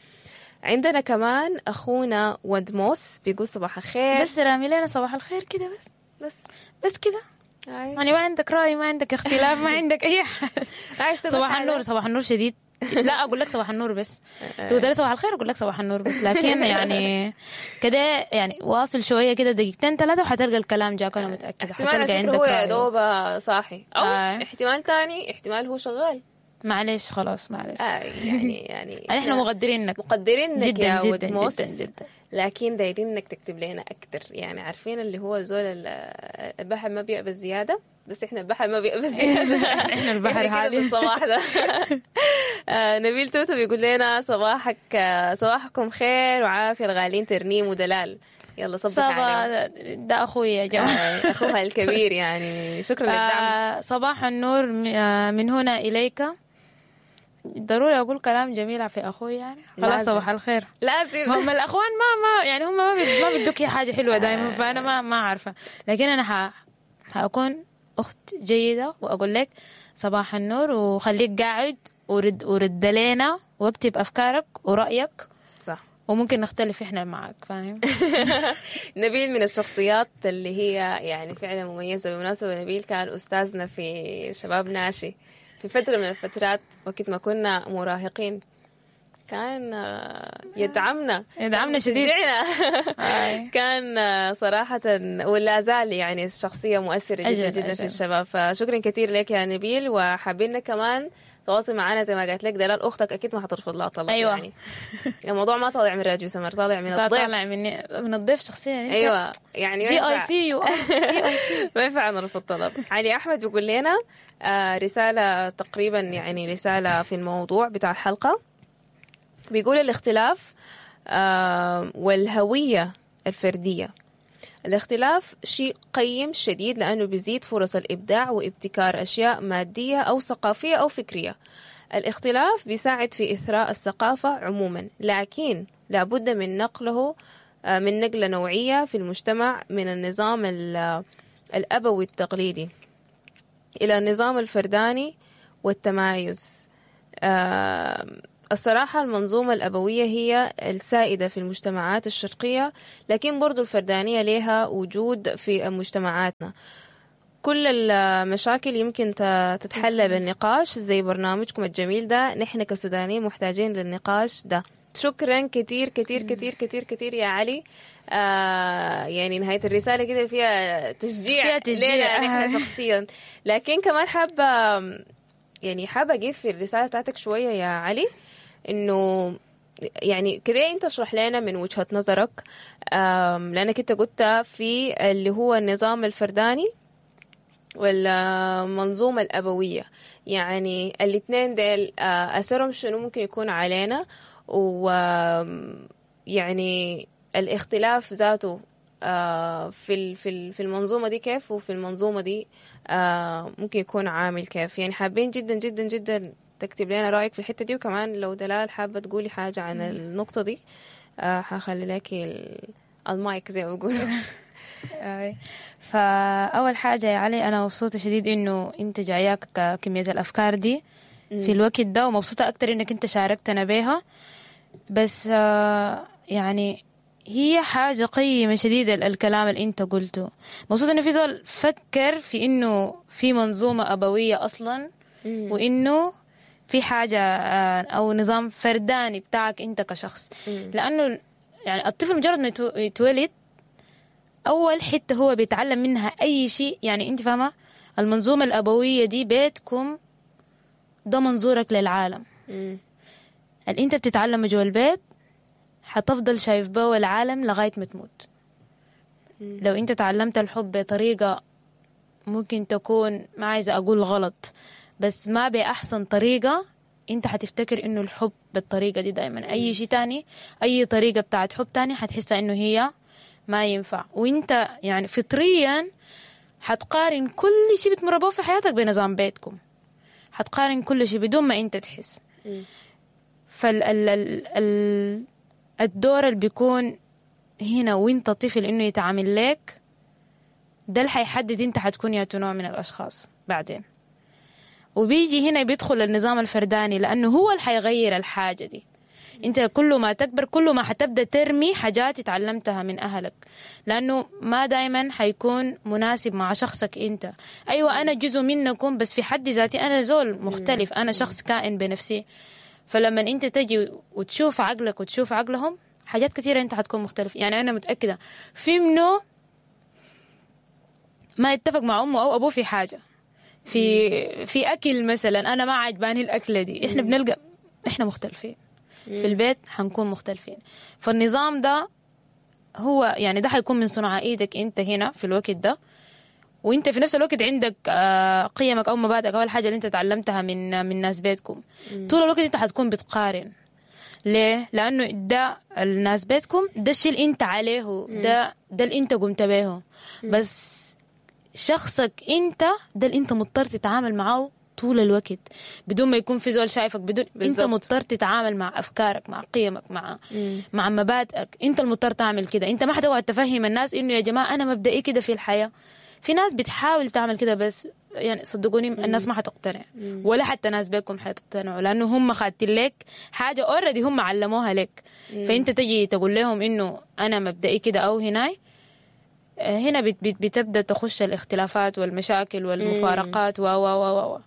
عندنا كمان أخونا ودموس بيقول صباح الخير. بس رامي لنا صباح الخير كده بس بس بس كده، هاي. يعني ما عندك رأي، ما عندك اختلاف، ما عندك أي حاجة. عايز تقول صباح حاجة؟ النور، صباح النور شديد. لا اقول لك صباح النور بس، تقول لي صباح الخير اقول لك صباح النور بس، لكن يعني كده يعني واصل شوية كده دقيقتين ثلاثة وحتلقى الكلام جاك، انا متاكدة احتمال على حتلقى فكرة عندك هو يا رأي. دوب صاحي، أو آه. احتمال تاني احتمال هو شغال. معلش خلاص معلش، آه يعني يعني احنا مقدرينك مقدرينك جدا يا جدا ودموس، جدا جدا. لكن دايرين انك تكتب لنا اكثر. يعني عارفين اللي هو زول ال- البحر ما بيقبل زيادة، بس احنا البحر ما بيقبل زيادة. احنا البحر احنا كده حاليا. بالصباح ده. آه، نبيل توتو بيقول لنا صباحك آه، صباحكم خير وعافيه الغالين ترنيم ودلال. يلا صبح عليهم. صبا ده اخوي يا جماعة، آه، اخوها الكبير، يعني شكرا للدعم. آه، صباح النور م- آه، من هنا اليك. ضروري اقول كلام جميل في اخوي يعني خلاص لازم. صباح الخير. لازم ما هم الاخوان ما ما يعني هم ما بيد- ما بيدوك حاجة حلوة دائما، فانا ما ما عارفه، لكن انا ح حاكون اخت جيدة واقول لك صباح النور وخليك قاعد ورد ورد لنا واكتب افكارك ورايك، صح. وممكن نختلف احنا معك، فاهم؟ نبيل من الشخصيات اللي هي يعني فعلا مميزة. بالمناسبة نبيل كان أستاذنا في شباب ناشي في فترة من الفترات وقت ما كنا مراهقين، كان آه، يدعمنا يدعمنا شديد. يشجعنا. آي. كان آه، صراحة ولا زال يعني شخصية مؤثرة جدا أجل، جدا في أجل. الشباب. فشكرا كثير لك يا نبيل، وحابين كمان تواصل معنا زي ما قالت لك دلال أختك أكيد ما حترفض لها طلب. أيوة. يعني الموضوع ما طالع من راديو سمر، طالع من الضيف. طالع مني من الضيف شخصيا انت. ايوه يعني ما في اي ينفع- بي يو ما ينفع نرفض طلب. علي احمد بيقول لنا آه، رسالة تقريبا يعني رسالة في الموضوع بتاع الحلقة، بيقول الاختلاف آه، والهوية الفردية. الاختلاف شيء قيم شديد لأنه بيزيد فرص الإبداع وابتكار أشياء مادية أو ثقافية أو فكرية. الاختلاف بيساعد في إثراء الثقافة عموما، لكن لابد من نقله آه، من نقلة نوعية في المجتمع من النظام ال- الأبوي التقليدي إلى النظام الفرداني والتمايز. آه، الصراحة المنظومة الأبوية هي السائدة في المجتمعات الشرقية، لكن برضو الفردانية لها وجود في مجتمعاتنا. كل المشاكل يمكن ت- تتحلى بالنقاش زي برنامجكم الجميل ده. نحن كسودانيين محتاجين للنقاش ده. شكرا كتير كتير كتير كتير كتير يا علي. آه يعني نهاية الرسالة كده فيها تشجيع، فيها تشجيع. لنا نحن شخصيا، لكن كمان حابة يعني حابة أجيب في الرسالة بتاعتك شوية يا علي، إنه يعني كده أنت اشرح لنا من وجهة نظرك، آم، لأنك أنت قلت في اللي هو النظام الفرداني والمنظومة الأبوية، يعني الاثنين ديل آه، أثرهم شنو ممكن يكون علينا، و آم، يعني الاختلاف ذاته آه، في ال- في ال- في المنظومة دي كيف، وفي المنظومة دي آه، ممكن يكون عامل كيف. يعني حابين جدا جدا جدا تكتب لنا رأيك في الحتة دي، وكمان لو دلال حابة تقولي حاجة عن النقطة دي آه، حخلي لك ال- المايك زي ما بيقولوا. أي. فأول حاجة يا علي، أنا مبسوطة شديد إنه أنت جاياك ك- كمية الأفكار دي في الوقت ده، ومبسوطة أكتر إنك أنت شاركتنا بيها. بس آه، يعني هي حاجة قيمة شديدة ال- الكلام اللي أنت قلته. مبسوطة إنه في زول فكر في إنه في منظومة أبوية أصلا، وإنه في حاجة آه، أو نظام فرداني بتاعك أنت كشخص. لأنه يعني الطفل مجرد ما يتو- يتولد، أول حتة هو بيتعلم منها أي شيء، يعني أنت فاهمة المنظومة الأبوية دي بيتكم ده منظورك للعالم. مم. اللي أنت بتتعلمه جوا البيت حتفضل شايف به العالم لغاية ما تموت. لو أنت تعلمت الحب بطريقة ممكن تكون، ما عايزة أقول غلط، بس ما بأحسن طريقة، أنت حتفتكر إنه الحب بالطريقة دي دايما. أي شيء تاني، أي طريقة بتاعت حب تاني حتحسها إنه هي ما ينفع. وإنت يعني فطريا حتقارن كل شيء بتمر به في حياتك بنظام بيتكم، حتقارن كل شيء بدون ما أنت تحس. فال ال ال ال الدور اللي بيكون هنا وانت طفل انه يتعامل لك ده اللي حيحدد انت حتكون يا نوع من الاشخاص بعدين. وبيجي هنا بيدخل النظام الفرداني، لانه هو اللي حيغير الحاجة دي. انت كل ما تكبر كل ما حتبدا ترمي حاجات اتعلمتها من اهلك، لانه ما دايما حيكون مناسب مع شخصك انت. ايوه انا جزء منكم، بس في حد ذاتي انا زول مختلف، انا شخص كائن بنفسي. فلما انت تجي وتشوف عقلك وتشوف عقلهم، حاجات كثيرة انت حتكون مختلف. يعني انا متاكدة في منه ما يتفق مع امه او ابوه في حاجة، في في اكل مثلا، انا ما عجباني الاكلة دي، احنا بنلقى احنا مختلفين في البيت، حنكون مختلفين. فالنظام ده هو يعني ده حيكون من صنع ايدك انت هنا في الوقت ده، وانت في نفس الوقت عندك آه، قيمك او مبادئك او الحاجة اللي انت تعلمتها من من ناس بيتكم. طول الوقت انت حتكون بتقارن. ليه؟ لانه ده الناس بيتكم، ده الشيء اللي انت عليه، ده ده اللي انت قمت به. بس شخصك انت ده اللي انت مضطر تتعامل معاه طول الوقت بدون ما يكون في زول شايفك، بدون انت بالظبط. مضطر تتعامل مع افكارك، مع قيمك، مع مع مبادئك. انت المضطر تعمل كده. انت ما حتقعد تفهم الناس انه يا جماعة انا مبدئي كده في الحياة. في ناس بتحاول تعمل كده، بس يعني صدقوني الناس ما حتقتنع، ولا حتى ناس بيكم حتقتنعوا، لانه هم خاتين لك حاجة already هم علموها لك. فانت تجي تقول لهم انه انا مبدئي كده او هناي، هنا بت بت بتبدا تخش الاختلافات والمشاكل والمفارقات و و و و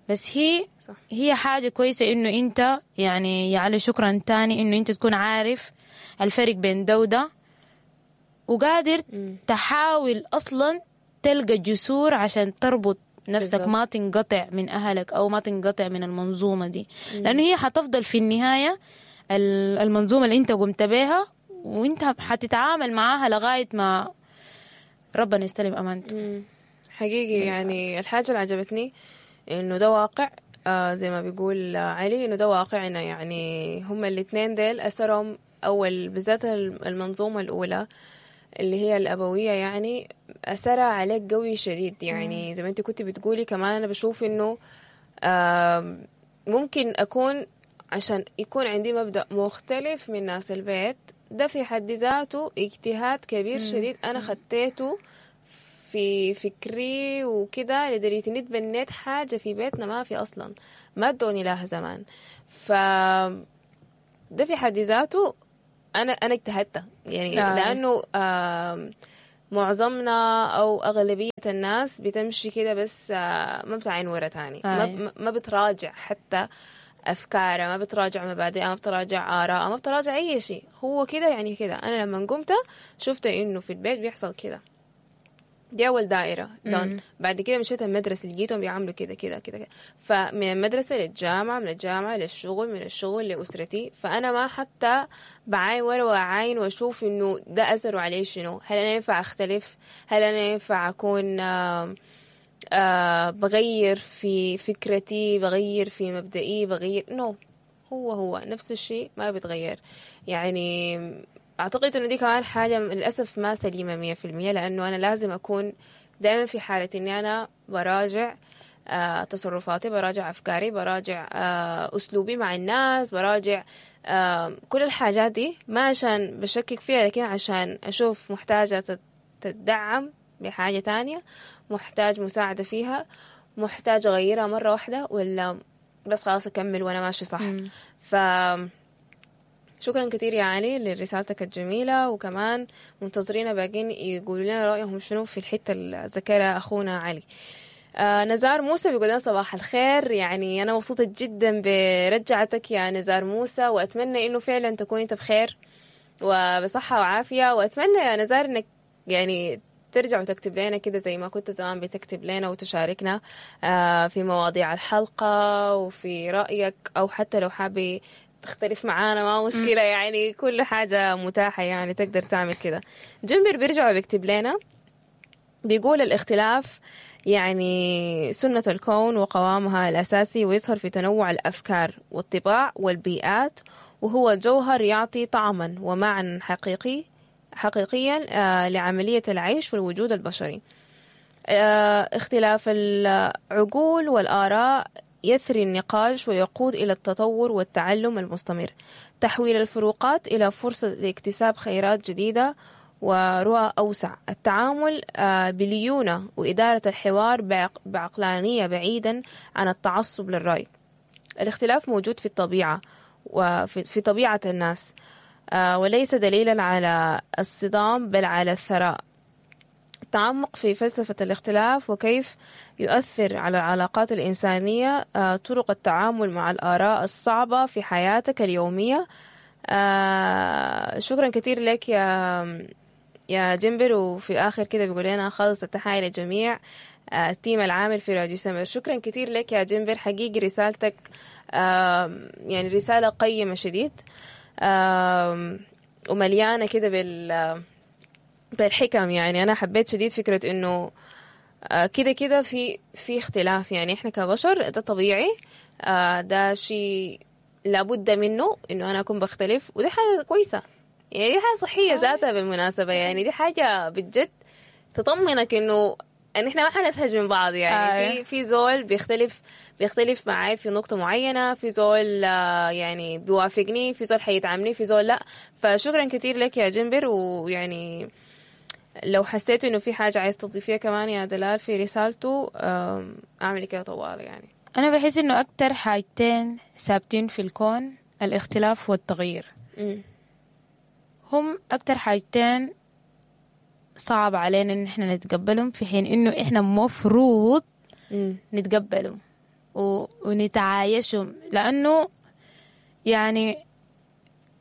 بس هي صح. هي حاجة كويسة إنه أنت يعني يا علي شكرا تاني إنه أنت تكون عارف الفرق بين ده وده، وقادر تحاول أصلا تلقى جسور عشان تربط نفسك، بالظبط. ما تنقطع من أهلك أو ما تنقطع من المنظومة دي، لأنه هي حتفضل في النهاية ال- المنظومة اللي أنت قمت بيها، وأنت حتتعامل معاها لغاية ما ربنا يستلم أمانته. مم. حقيقي يعني الحاجة اللي عجبتني إنه ده واقع، آه زي ما بيقول آه، علي إنه ده واقعنا. يعني هما الاثنين ديل أثرهم أول بالذات المنظومة الأولى اللي هي الأبوية، يعني أثرها عليك قوي شديد. يعني زي ما أنت كنت بتقولي كمان، أنا بشوف إنه آم، ممكن أكون عشان يكون عندي مبدأ مختلف من ناس البيت، ده في حد ذاته اجتهاد كبير شديد أنا خطيته في فكري وكده، لدرجة إني تبنيت حاجة في بيتنا ما في أصلا، ما ادوني لها زمان. ف ده في حد ذاته أنا أنا اجتهدت يعني آه. لأنه آم، معظمنا أو أغلبية الناس بتمشي كده بس آه، ما بتعين ورا تاني، ما, آه. ما بتراجع حتى أفكارها، ما بتراجع مبادئها، ما بتراجع آرائها، ما بتراجع أي شيء. هو كده يعني كده. أنا لما قمت شفت إنه في البيت بيحصل كده، دي أول دائرة done. بعد كده مشيت المدرسة لقيتهم بيعملوا كده كده كده كده. فمن المدرسة للجامعة، من الجامعة للشغل، من الشغل لأسرتي. فأنا ما حتى بعاين ورا وأعاين وأشوف إنه ده أثره عليه شنو، هل أنا ينفع أختلف، هل أنا ينفع أكون آه آه بغير في فكرتي، بغير في مبدئي، بغير نو no. هو هو نفس الشيء ما بيتغير. يعني أعتقد إنه دي كمان حاجة للأسف ما سليمة مية في المية، لأنه أنا لازم أكون دائما في حالة إني أنا براجع آه تصرفاتي، براجع أفكاري، براجع آه أسلوبي مع الناس، براجع آه كل الحاجات دي، ما عشان بشكك فيها، لكن عشان أشوف محتاجة تتدعم بحاجة تانية، محتاج مساعدة فيها، محتاج أغيرها مرة واحدة، ولا بس خلاص أكمل وأنا ماشي صح. ف شكرا كثير يا علي لرسالتك الجميلة، وكمان منتظرين باقين يقولوا لنا رأيهم شنو في الحتة اللي ذكرها أخونا علي. آه نزار موسى بيقول لنا صباح الخير. يعني أنا مبسوطة جدا برجعتك يا نزار موسى، وأتمنى إنه فعلا تكون أنت بخير وبصحة وعافية، وأتمنى يا نزار إنك يعني ترجع وتكتب لنا كده زي ما كنت زمان بتكتب لنا وتشاركنا آه في مواضيع الحلقة وفي رأيك، أو حتى لو حابي تختلف معانا ما مشكلة، يعني كل حاجة متاحة، يعني تقدر تعمل كده. جنبر بيرجع وبيكتب لنا بيقول الاختلاف يعني سنة الكون وقوامها الأساسي، ويظهر في تنوع الأفكار والطباع والبيئات، وهو جوهر يعطي طعما ومعنى حقيقي حقيقيا آه لعملية العيش والوجود البشري. آه اختلاف العقول والآراء يثري النقاش ويقود إلى التطور والتعلم المستمر، تحويل الفروقات إلى فرصة لاكتساب خيرات جديدة ورؤى أوسع، التعامل آه بليونة وإدارة الحوار بعق بعقلانية بعيدا عن التعصب للرأي. الاختلاف موجود في الطبيعة وفي في طبيعة الناس، آه وليس دليلا على الصدام بل على الثراء. التعمق في فلسفة الاختلاف وكيف يؤثر على العلاقات الإنسانية، آه طرق التعامل مع الآراء الصعبة في حياتك اليومية. آه شكرا كثير لك يا يا جنبر. وفي آخر كده بيقول لنا خالص التحية للجميع آه ال team العامل في راديو سمر. شكرا كثير لك يا جنبر، حقيقي رسالتك آه يعني رسالة قيمة شديد، آه ومليانة كده بال بالحكم. يعني أنا حبيت شديد فكرة إنه كده كده في في اختلاف، يعني إحنا كبشر ده طبيعي، ده شيء لابد منه إنه أنا أكون بختلف، وده حاجة كويسة، يعني دي حاجة صحية ذاتها بالمناسبة. يعني دي حاجة بجد تطمنك إنه إن إحنا ما حنسهج من بعض. يعني آه. في في زول بيختلف بيختلف معي في نقطة معينة، في زول يعني بيوافقني، في زول حيدعمني، في زول لا. فشكرا كثير لك يا جنبر. ويعني لو حسيت إنه في حاجة عايز تضيفيها كمان يا دلال في رسالته، أعمل كده طوال. يعني أنا بحس إنه أكتر حاجتين ثابتين في الكون الاختلاف والتغيير. م. هم أكتر حاجتين صعب علينا إن إحنا نتقبلهم، في حين إنه إحنا مفروض م. نتقبلهم و... ونتعايشهم، لأنه يعني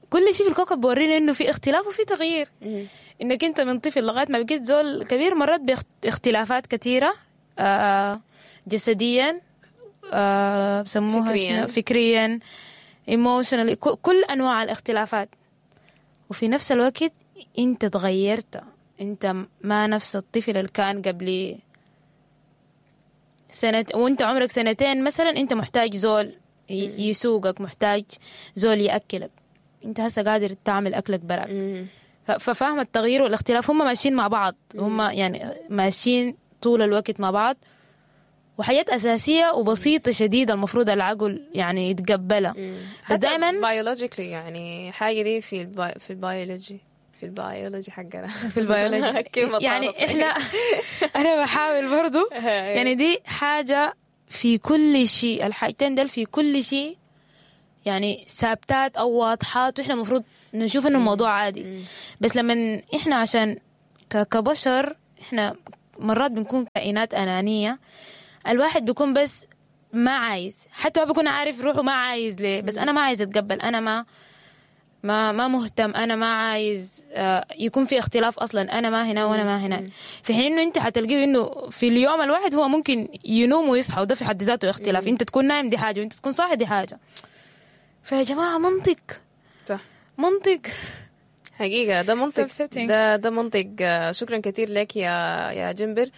كل شيء في الكوكب بورينا إنه في اختلاف وفي تغيير. م. إنك أنت من طفل لغاية ما بقيت زول كبير مرات باختلافات كثيرة، آه جسديا، آه بسموها فكريا, فكريا emotionally، كل أنواع الاختلافات. وفي نفس الوقت أنت تغيرت، أنت ما نفس الطفل اللي كان قبل سنة وأنت عمرك سنتين مثلا، أنت محتاج زول يسوقك، محتاج زول يأكلك، أنت هسه قادر تعمل أكلك براك. ففهم التغيير والاختلاف هم ماشيين مع بعض، هم يعني ماشيين طول الوقت مع بعض. وحاجات أساسية وبسيطة شديدة المفروض العقل يعني يتقبلها. بس دايما biologically يعني حاجة دي في ال bi في البيولوجي في البيولوجي حقنا في البيولوجي كلمة يعني طارت. احنا انا بحاول برضو يعني دي حاجة في كل شيء، الحاجتين دول في كل شيء يعني ثابتات او واضحات، واحنا المفروض نشوف انه الموضوع عادي. بس لما احنا عشان ك- كبشر احنا مرات بنكون كائنات انانية، الواحد بيكون بس ما عايز، حتى ما بيكون عارف روحه ما عايز ليه، بس انا ما عايز اتقبل، انا ما ما ما مهتم، انا ما عايز آه، يكون في اختلاف اصلا، انا ما هنا وانا ما هنا. في حين انه انت حتلقيه انه في اليوم الواحد هو ممكن ينوم ويصحى، وده في حد ذاته اختلاف. انت تكون نايم دي حاجة، وانت تكون صاحي دي حاجة. فيا جماعة منطق، صح منطق. حقيقة ده منطق، Upsetting. ده ده منطق. آه، شكرا كثير لك يا يا جنبر.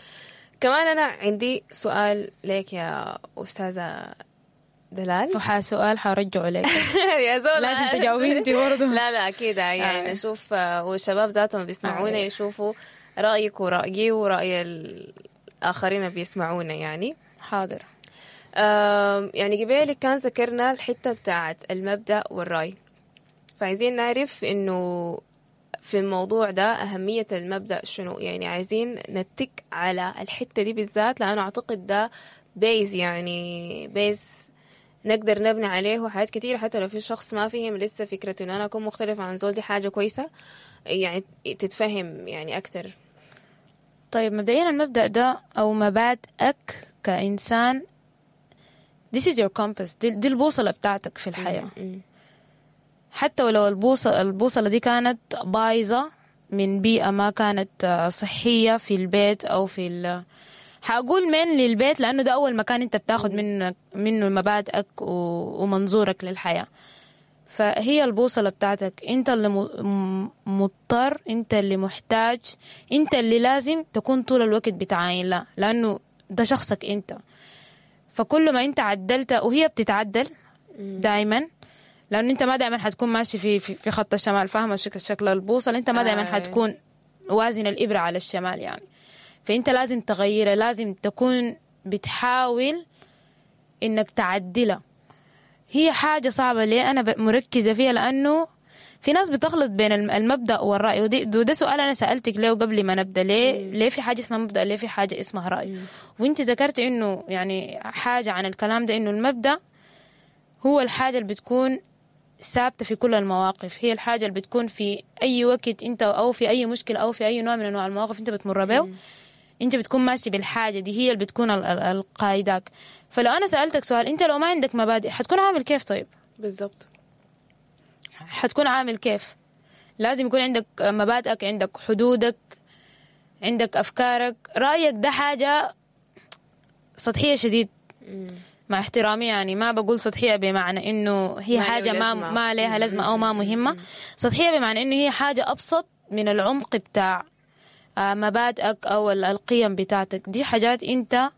كمان أنا عندي سؤال لك يا أستاذة دلال. وحا سؤال حرجعه لك. يا زول لازم تجاوبي انت برضه. لا لا أكيد يعني آه. نشوف آه، والشباب ذاتهم بيسمعونا آه. يشوفوا رأيك ورأيي ورأي الآخرين اللي بيسمعونا يعني. حاضر. آم، يعني قبالك كان ذكرنا الحتة بتاعت المبدأ والرأي، فعايزين نعرف إنه في الموضوع ده أهمية المبدأ شنو، يعني عايزين نتك على الحتة دي بالذات، لأنه أعتقد ده base، يعني base نقدر نبني عليه حاجات كتير. حتى لو في شخص ما فهم لسه فكرة إنه أنا أكون مختلفة عن زول دي حاجة كويسة، يعني تتفهم يعني أكتر. طيب مبدئيا المبدأ ده أو مبادئك كإنسان، this is your compass، دي, دي البوصلة بتاعتك في الحياة. مم. حتى ولو البوصلة, البوصلة دي كانت بايظة من بيئة ما كانت آه، صحية في البيت أو في ال حأقول من للبيت لأنه ده أول مكان أنت بتاخد منه منه مبادئك و- ومنظورك للحياة. فهي البوصلة بتاعتك، أنت اللي م- مضطر، أنت اللي محتاج، أنت اللي لازم تكون طول الوقت بتعاين لها، لأنه ده شخصك أنت. فكل ما أنت عدلت، وهي بتتعدل دايما، لأنه أنت ما دايما حتكون ماشي في في, في خط الشمال، فاهمة شكل شكل البوصلة، أنت ما دايما آه. حتكون وازن الإبرة على الشمال يعني. فأنت لازم تغيرها، لازم تكون بتحاول إنك تعدلها. هي حاجة صعبة. ليه أنا ب- مركزة فيها؟ لأنه في ناس بتخلط بين الم- المبدأ والرأي، ودي وده سؤال أنا سألتك ليه قبل ما نبدأ، ليه ليه في حاجة اسمها مبدأ، ليه في حاجة اسمها رأي؟ وانت ذكرت إنه يعني حاجة عن الكلام ده، إنه المبدأ هو الحاجة اللي بتكون ثابتة في كل المواقف، هي الحاجة اللي بتكون في أي وقت أنت أو في أي مشكلة أو في أي نوع من أنواع المواقف أنت بتمر بيه، أنت بتكون ماشي بالحاجة دي، هي اللي بتكون ال- ال- القايداك. فلو أنا سألتك سؤال، أنت لو ما عندك مبادئ حتكون عامل كيف؟ طيب بالضبط. حتكون عامل كيف؟ لازم يكون عندك مبادئك، عندك حدودك، عندك أفكارك. رأيك ده حاجة سطحية شديد، مع احترامي يعني، ما بقول سطحية بمعنى إنه هي ما له حاجة ما لازمة. ما لها لازمة أو ما مهمة، سطحية بمعنى إنه هي حاجة أبسط من العمق بتاع آه، مبادئك أو ال- القيم بتاعتك. دي حاجات أنت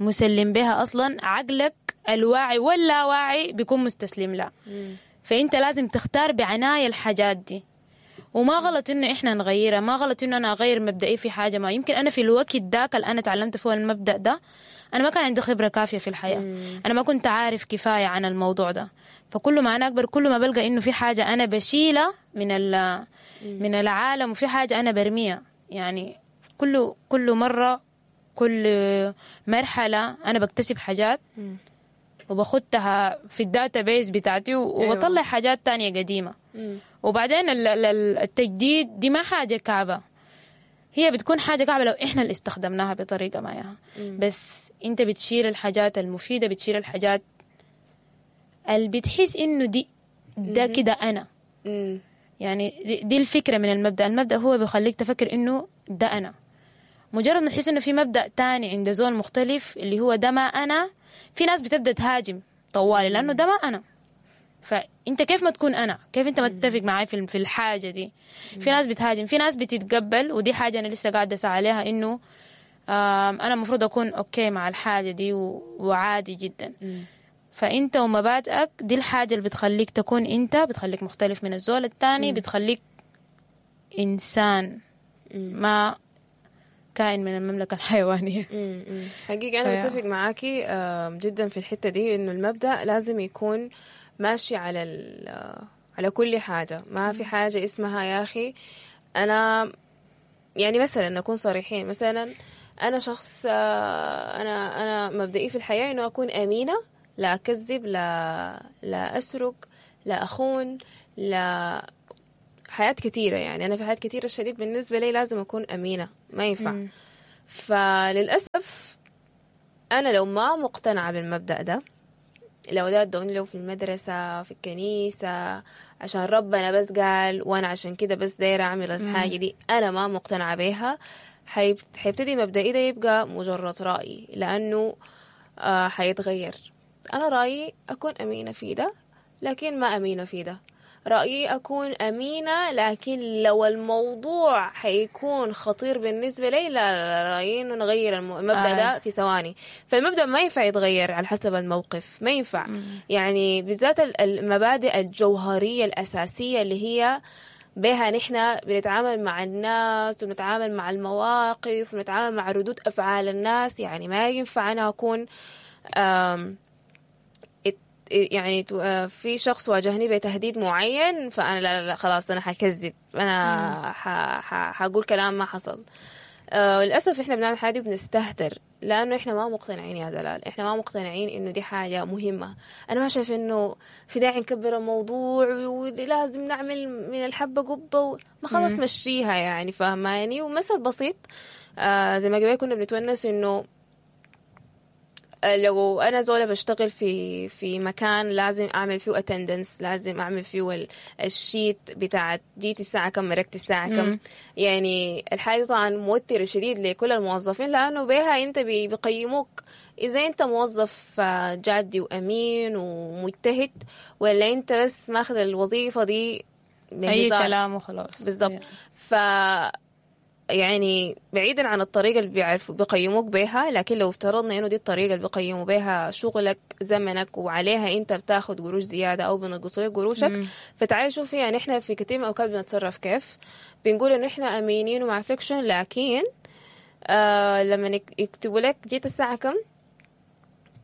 مسلم بها أصلا، عقلك الواعي واللاواعي بيكون مستسلم لها. فأنت لازم تختار بعناية الحاجات دي. وما غلط إنه إحنا نغيرها، ما غلط إنه أنا أغير مبدئي في حاجة ما. يمكن أنا في الوقت داك اللي أنا تعلمت فيه المبدأ ده، أنا ما كان عندي خبرة كافية في الحياة، أنا ما كنت عارف كفاية عن الموضوع ده. فكل ما أنا أكبر كل ما بلقى إنه في حاجة أنا بشيلها من ال- من العالم، وفي حاجة أنا برميها. يعني كل كل مرة، كل مرحلة أنا بكتسب حاجات وباخدها في ال database بتاعتي وبطلع أيوة. حاجات تانية قديمة. وبعدين ال- ال- التجديد دي ما حاجة كعبة، هي بتكون حاجة كعبة لو إحنا اللي استخدمناها بطريقة ما إياها. بس أنت بتشيل الحاجات المفيدة، بتشيل الحاجات اللي بتحس إنه دي ده كده أنا. مم. يعني دي- دي الفكرة من المبدأ. المبدأ هو بيخليك تفكر إنه ده أنا. مجرد ما تحس إنه في مبدأ تاني عند زول مختلف اللي هو ده ما أنا، في ناس بتبدأ تهاجم طوالي لأنه ده ما أنا. فأنت كيف ما تكون أنا؟ كيف أنت ما تتفق معي في في الحاجة دي؟ في ناس بتهاجم، في ناس بتتقبل، ودي حاجة أنا لسه قاعدة أسعى عليها، إنه آم، أنا المفروض أكون okay مع الحاجة دي و- وعادي جدا. فأنت ومبادئك دي الحاجة اللي بتخليك تكون أنت، بتخليك مختلف من الزول التاني، بتخليك إنسان ما كائن من المملكة الحيوانية. مم. مم. حقيقة أنا فيا. بتفق معاكي آم، جدا في الحتة دي، إنه المبدأ لازم يكون ماشي على ال- آه، على كل حاجة. ما في حاجة اسمها يا أخي أنا، يعني مثلا نكون صريحين، مثلا أنا شخص آه، أنا أنا مبدئي في الحياة إنه أكون أمينة، لا أكذب، لا لا أسرق، لا أخون، لا حياة كثيرة. يعني أنا في حياة كثيرة شديد بالنسبة لي لازم أكون أمينة، ما ينفع. مم. فللأسف أنا لو ما مقتنعة بالمبدأ ده، لو ده ادوني لو في المدرسة في الكنيسة عشان ربنا بس قال وأنا عشان كده بس دايرة أعمل الحاجة دي، أنا ما مقتنعة بيها، حيب- حيبتدي مبدئي ده يبقى مجرد رأي، لأنه آه حيتغير. أنا رأيي أكون أمينة في ده، لكن ما أمينة في ده. رأيي أكون أمينة، لكن لو الموضوع حيكون خطير بالنسبة لي، لا لا لا، رأيي إنه نغير الم- المبدأ آه. ده في ثواني. فالمبدأ ما ينفع يتغير على حسب الموقف، ما ينفع. يعني بالذات ال- المبادئ الجوهرية الأساسية اللي هي بها نحن بنتعامل مع الناس وبنتعامل مع المواقف وبنتعامل مع ردود أفعال الناس. يعني ما ينفع أنا أكون آم ات- يعني تو- آه، في شخص واجهني بتهديد معين، فأنا لا لا لا خلاص أنا حكذب، أنا ح- ح- حقول كلام ما حصل. آه، للأسف إحنا بنعمل حاجة وبنستهتر، لأنه إحنا ما مقتنعين يا دلال، إحنا ما مقتنعين إنه دي حاجة مهمة. أنا ما شايف إنه في داعي نكبر الموضوع ولازم نعمل من الحبة قبة و... ما خلاص مشيها يعني، فهماني؟ ومثل بسيط آه زي ما قبل كنا بنتونس إنه لو انا زوله بشتغل في في مكان لازم اعمل فيه attendance، لازم اعمل فيه ال- ال sheet بتاعت جيت الساعة كم، مرقت الساعة كم. يعني الحاجة طبعا موتره شديد لكل الموظفين، لانه بها انت بي- بيقيموك اذا انت موظف آه، جادي وامين ومجتهد، ولا انت بس ماخذ الوظيفة دي اي بهزار. كلام وخلاص. بالضبط. ف يعني بعيدا عن الطريقة اللي بيعرفوا بيقيموك بيها، لكن لو افترضنا انه دي الطريقة اللي بيقيموا بيها شغلك زمنك وعليها انت بتاخد قروش زيادة او بينقصوا لك قروشك، فتعالي شوفي يعني احنا في كثير من الاوقات بنتصرف كيف، بنقول انه احنا امينين ومع فليكشن، لكن آه لما يك- يكتبوا لك جيت الساعة كم،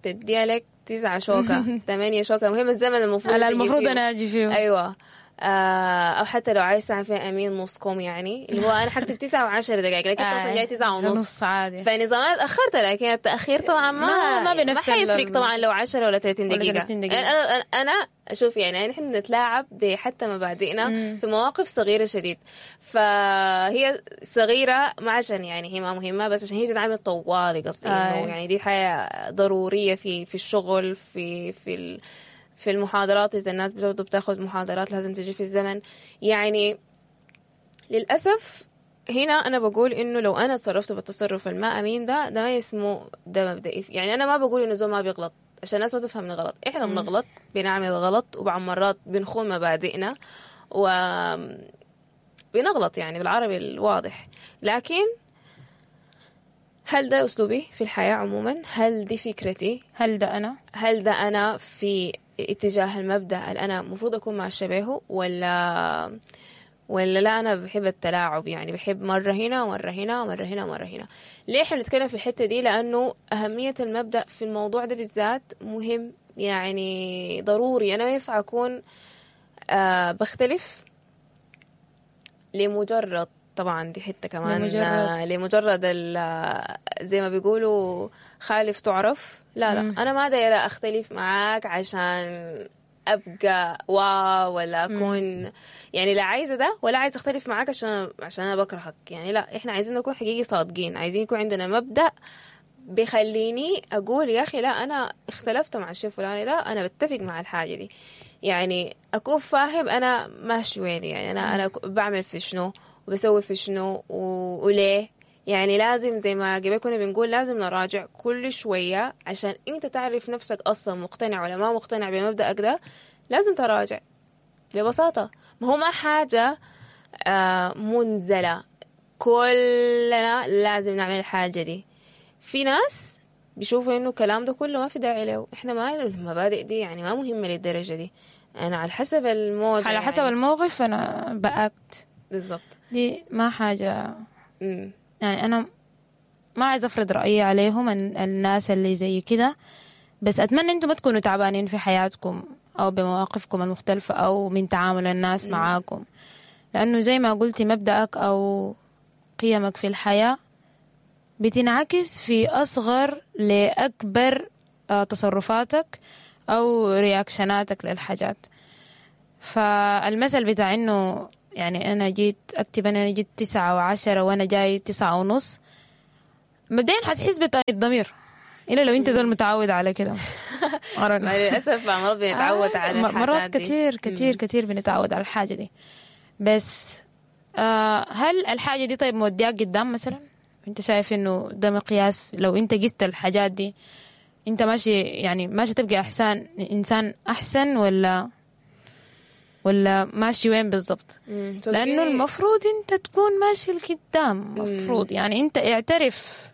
تديها لك تسعة شوكة ثمانية شوكة، المهم الزمن المفروض على تجي المفروض فيه. انا اجي فيه. ايوه. آه، او حتى لو عايز تعمل فيها امين نص كوم، يعني اللي هو انا حكتب تسعة وعشر دقائق، لكن آه، اصلا جاي تسعة ونص نص عادي. فنظام انا تاخرت، لكن التاخير طبعا ما ما- ما بنفس ما حيفرق ال- طبعا لو عشرة ولا ثلاثين ولا دقيقة. ثلاثين دقيقة. انا انا انا اشوف يعني نحن نتلاعب بحتى مبادئنا في مواقف صغيرة شديد، فهي صغيرة ما عشان يعني هي ما مهمة، بس عشان هي بتتعامل طوالي، قصدي انه آه. يعني دي حياة ضرورية في في الشغل، في في ال في المحاضرات، إذا الناس برضو بتاخد محاضرات لازم تجي في الزمن. يعني للأسف هنا أنا بقول إنه لو أنا تصرفت بالتصرف الما أمين ده، ده ما اسمه ده مبدئي. يعني أنا ما بقول إنه زول ما بيغلط عشان الناس ما تفهمني غلط، إحنا بنغلط، بنعمل غلط، وبعض مرات بنخون مبادئنا و بنغلط يعني بالعربي الواضح. لكن هل ده أسلوبي في الحياة عموما؟ هل دي فكرتي؟ هل ده انا؟ هل ده أنا في اتجاه المبدأ اللي أنا المفروض أكون مع شبهه، ولا ولا لا أنا بحب التلاعب، يعني بحب مرة هنا ومرة هنا ومرة هنا ومرة هنا. ليه إحنا بنتكلم في الحتة دي؟ لأنه أهمية المبدأ في الموضوع ده بالذات مهم، يعني ضروري. أنا ما ينفع أكون آه بختلف لمجرد، طبعا دي حتة كمان لمجرد. آه، لمجرد ال- زي ما بيقولوا خالف تعرف. لا لا مم. أنا ما دايرة أختلف معاك عشان أبقى واو ولا أكون يعني، لا عايزة ده ولا عايزة أختلف معاك عشان عشان أنا بكرهك يعني. لا، إحنا عايزين نكون حقيقي صادقين، عايزين يكون عندنا مبدأ بيخليني أقول يا أخي لا أنا اختلفت مع الشيء الفلاني ده، أنا بتفق مع الحاجة دي، يعني أكون فاهم أنا ماشي وين، يعني أنا أنا بعمل في شنو وبسوي في شنو و... وليه. يعني لازم زي ما قبل كنا بنقول لازم نراجع كل شوية عشان أنت تعرف نفسك أصلا مقتنع ولا ما مقتنع بمبدأك ده. لازم تراجع ببساطة، ما هو ما حاجة آه، منزلة كلنا لازم نعمل الحاجة دي. في ناس بيشوفوا انه الكلام ده كله ما في داعي له، احنا ما المبادئ دي يعني ما مهمة للدرجة دي، انا على حسب الموجة على حسب يعني. الموقف انا بأكت. بالضبط. دي ما حاجة مم. يعني انا ما عايز افرض رايي عليهم الناس اللي زي كده، بس اتمنى انتم ما تكونوا تعبانين في حياتكم او بمواقفكم المختلفة او من تعامل الناس معاكم، لانه زي ما قلتي مبدأك او قيمك في الحياة بتنعكس في اصغر لاكبر تصرفاتك او reaction اتك للحاجات. فالمثل بتاع انه يعني انا جيت اكتب انا جيت تسعة وعشرة وانا جاي تسعة ونص، مبدئيا حتحس بتأنيب ضمير، إلا لو انت زول متعود على كده. للاسف مرات بنتعود على الحاجات مرات كتير كتير كتير بنتعود على الحاجة دي. بس آه هل الحاجة دي طيب مودياك قدام مثلا؟ انت شايف انه ده مقياس؟ لو انت قست الحاجات دي انت ماشي يعني ماشي تبقى احسن انسان احسن ولا ولا ماشي وين بالضبط؟ لانه المفروض انت تكون ماشي لقدام، المفروض يعني انت اعترف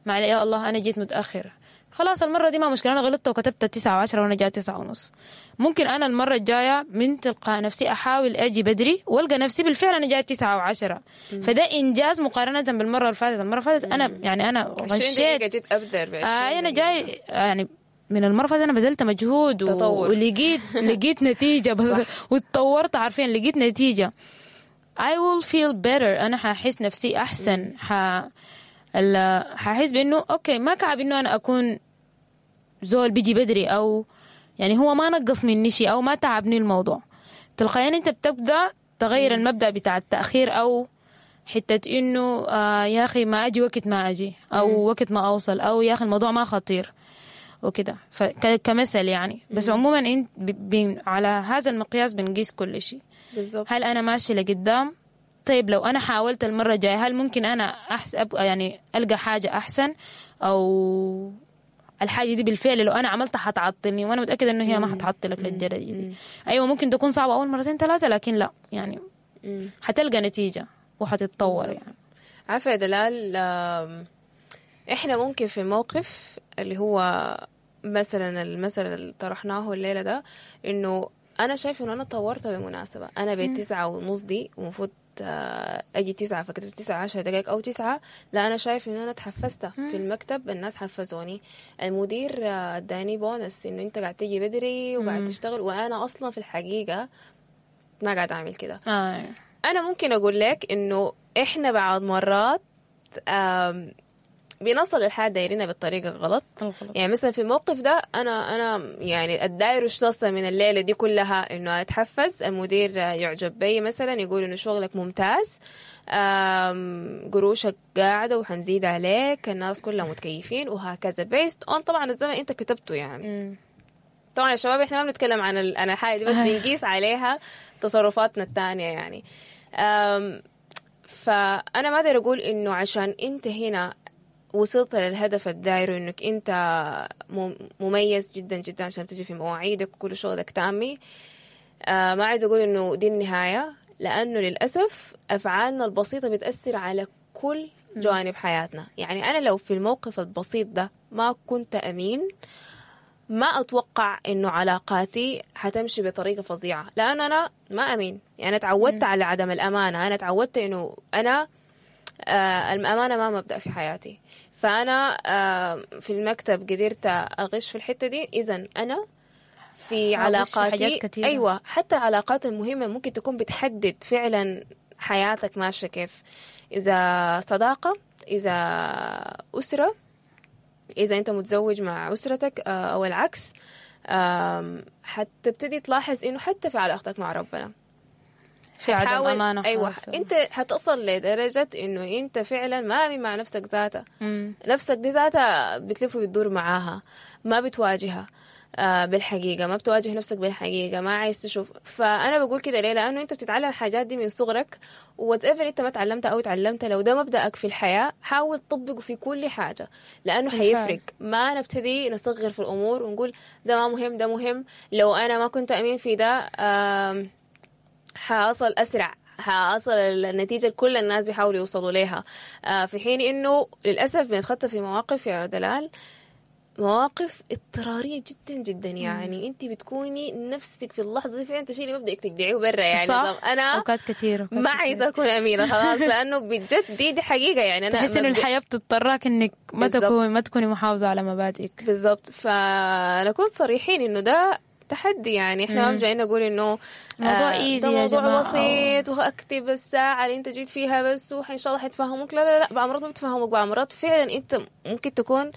مع يا الله انا جيت متاخر، خلاص المرة دي ما مشكلة، انا غلطت وكتبت تسعة وعشرة وانا جاية تسعة ونص، ممكن انا المرة الجاية من تلقاء نفسي احاول اجي بدري والقى نفسي بالفعل انا جاية تسعة وعشرة. فده انجاز مقارنة بالمرة اللي فاتت. المرة اللي فاتت انا يعني انا غشيت، جيت ابدر آه انا جاي يعني من المرة اللي فاتت انا بذلت مجهود و... ولقيت لقيت نتيجة بس، وتطورت عارفين لقيت نتيجة. I will feel better، انا ححس نفسي احسن، ح ححس بانه okay ما كعب انه انا اكون زول بيجي بدري، او يعني هو ما نقص مني شيء او ما تعبني الموضوع. تلقائيا انت بتبدا تغير المبدا بتاع التاخير، او حتة انه آه يا اخي ما اجي وقت ما اجي، او وقت ما اوصل، او يا اخي الموضوع ما خطير وكده، فكمثل يعني. بس عموما انت على هذا المقياس بنقيس كل شيء. بالظبط. هل انا ماشي لقدام؟ طيب لو انا حاولت المرة الجاية هل ممكن انا احسب يعني القى حاجة احسن، او الحاجة دي بالفعل لو انا عملتها حتعطلني، وانا متاكدة انه هي ما حتعطلك للدرجة دي. ايوه ممكن تكون صعبة اول مرتين ثلاثة، لكن لا يعني حتلقى نتيجة وحتتطور. يعني عارفه يا دلال، احنا ممكن في موقف اللي هو مثلا المثل اللي طرحناه الليلة ده، انه انا شايفه انه انا طورت بالمناسبة، انا بيت تسعة ونص دي ومفروض اجي تسعة، فكتبت تسعة عشر دقائق او تسعة، لا انا شايف ان انا تحفزت في المكتب، الناس حفزوني، المدير اداني بونس انه انت قاعد تيجي بدري وقاعد تشتغل، وانا اصلا في الحقيقة ما قاعد اعمل كده. آه. انا ممكن اقول لك انه احنا بعض مرات بنصل الحاجة دايرينها بالطريقة الغلط. يعني مثلا في الموقف ده أنا أنا يعني الداير الشخص من الليلة دي كلها إنه أتحفز، المدير يعجب بي مثلا، يقول إنه شغلك ممتاز، قروشك قاعدة وحنزيد عليك، الناس كلها متكيفين وهكذا، based on طبعا الزمن أنت كتبته يعني. م. طبعا يا شباب إحنا ما بنتكلم عن عن الحاجة دي، بس بنقيس عليها تصرفاتنا الثانية يعني. فأنا ما أقدر أقول إنه عشان أنت هنا وصلت للهدف الداير انك انت مميز جدا جدا عشان تجي في مواعيدك وكل شغلك تامي، آه ما عايز اقول انه دي النهاية، لانه للأسف افعالنا البسيطة بتأثر على كل جوانب حياتنا. يعني انا لو في الموقف البسيط ده ما كنت امين، ما اتوقع انه علاقاتي حتمشي بطريقة فظيعة، لانه انا ما امين. يعني تعودت على عدم الامانة، انا تعودت انه انا آه الأمانة ما مبدأ في حياتي، فأنا آه في المكتب قدرت أغش في الحتة دي، إذن أنا في علاقاتي في أيوة حتى العلاقات المهمة ممكن تكون بتحدد فعلا حياتك ماشية كيف، إذا صداقة، إذا أسرة، إذا أنت متزوج مع أسرتك آه أو العكس، آه حتبتدي تلاحظ إنه حتى في علاقتك مع ربنا في عدم أمانة. أيوة أنت حتصل لدرجة إنه أنت فعلا ما أمين مع نفسك ذاتها. نفسك دي ذاتها بتلف وبتدور معاها، ما بتواجهها آه بالحقيقة، ما بتواجه نفسك بالحقيقة، ما عايز تشوف. فأنا بقول كده ليه؟ لأنه أنت بتتعلم الحاجات دي من صغرك، whatever أنت ما تعلمتها أو تعلمتها، لو ده مبدأك في الحياة حاول تطبقه في كل حاجة، لأنه حيفرق. ما نبتدي نصغر في الأمور ونقول ده ما مهم ده مهم، لو أنا ما كنت أمين في ده آه حأصل أسرع، حأصل النتيجة كل الناس بيحاولوا يوصلوا ليها، آه في حين إنه للأسف بنتخطى في مواقف يا دلال مواقف اضطرارية جدا جدا، يعني انت بتكوني نفسك في اللحظة دي فعلا تشيلي مبدأك تجدعيه برا يعني. صح. طب انا اوقات كثيرة أوقات ما كتيرة. عايزة اكون امينة خلاص، لانه بجد دي دي حقيقة يعني. انا تحس انه مبدأ- الحياة بتضطرك انك ما بالضبط. تكون ما تكوني محافظة على مبادئك. بالضبط. فنكون صريحين انه ده تحدي، يعني احنا ما جايين نقول انه موضوع آه easy ده يا موضوع جماعة. بسيط واكتب الساعة اللي انت جيت فيها بس وان شاء الله حيتفهموك. لا لا لا، بعض مرات ما بتفهموك، بعض مرات فعلا انت ممكن تكون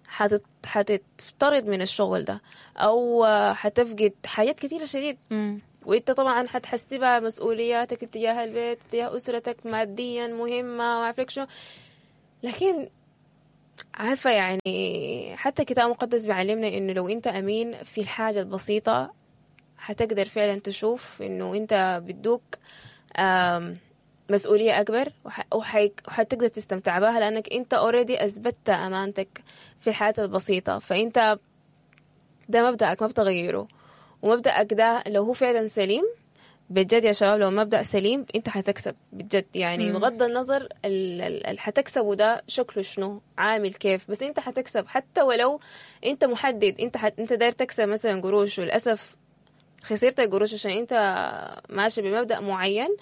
حتت حتفترض من الشغل ده او آه، حتفقد حاجات كثيرة شديد. مم. وانت طبعا حتحسبها مسؤولياتك اتجاه البيت، اتجاه اسرتك، ماديا مهمة وما عارفه شنو. لكن عارفة يعني حتى الكتاب المقدس بيعلمنا انه لو انت امين في الحاجة البسيطة حتقدر فعلا تشوف انه انت بدوك آم، مسؤولية أكبر، وح- وحي- وحتقدر تستمتع بها لأنك أنت already أثبتت أمانتك في الحياة البسيطة. فأنت ده مبدأك ما بتغيره، ومبدأك ده لو هو فعلا سليم بجد يا شباب، لو مبدأ سليم انت حتكسب بجد يعني. بغض النظر اللي حتكسبه ده شكله شنو، عامل كيف، بس انت حتكسب. حتى ولو انت محدد انت حت... انت داير تكسب مثلا قروش، وللاسف خسرت القروش عشان انت ماشي بمبدأ معين.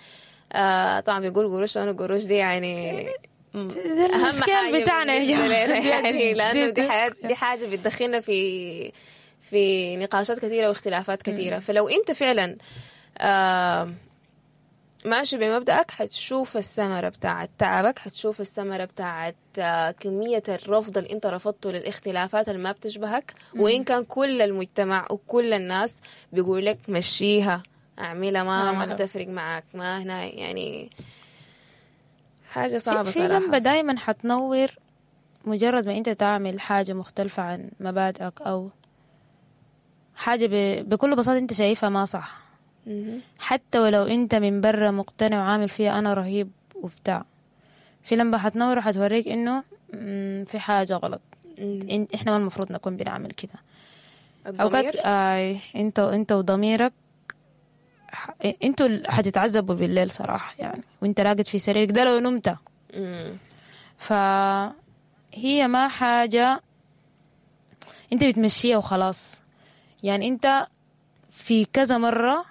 آه طبعا بيقول قروش، لانه القروش دي يعني م- اهم المشكلة حاجة بتاعنا يا بالنسبة جماعة. لنا يعني، لانه دي دي- حياة، دي حاجة بتدخلنا في في نقاشات كثيرة واختلافات كثيرة. فلو انت فعلا آه ماشي بمبدأك حتشوف الثمرة بتاعت تعبك، حتشوف الثمرة بتاعت آه، كمية الرفض اللي انت رفضته للاختلافات اللي ما بتشبهك، وإن كان كل المجتمع وكل الناس بيقول لك مشيها اعملها، ما ما اعملها. حتفرق معك، ما هنا يعني حاجة صعبة في صراحة. لمبة دايما حتنور مجرد ما انت تعمل حاجة مختلفة عن مبادئك او حاجة ب... بكل بساطة انت شايفها ما صح. مهم. حتى ولو انت من برا مقتنع وعامل فيها انا رهيب وبتاع، في لمبة حتنور وحتوريك انه مم، في حاجة غلط. مم. إن- احنا ما المفروض نكون بنعمل كده. الضمير اوقات آي انت انت وضميرك ح- انتوا ال- حتتعذبوا بالليل صراحة يعني، وانت راقد في سريرك ده لو نمت. مم. فهي ما حاجة انت بتمشيها وخلاص يعني. انت في كذا مرة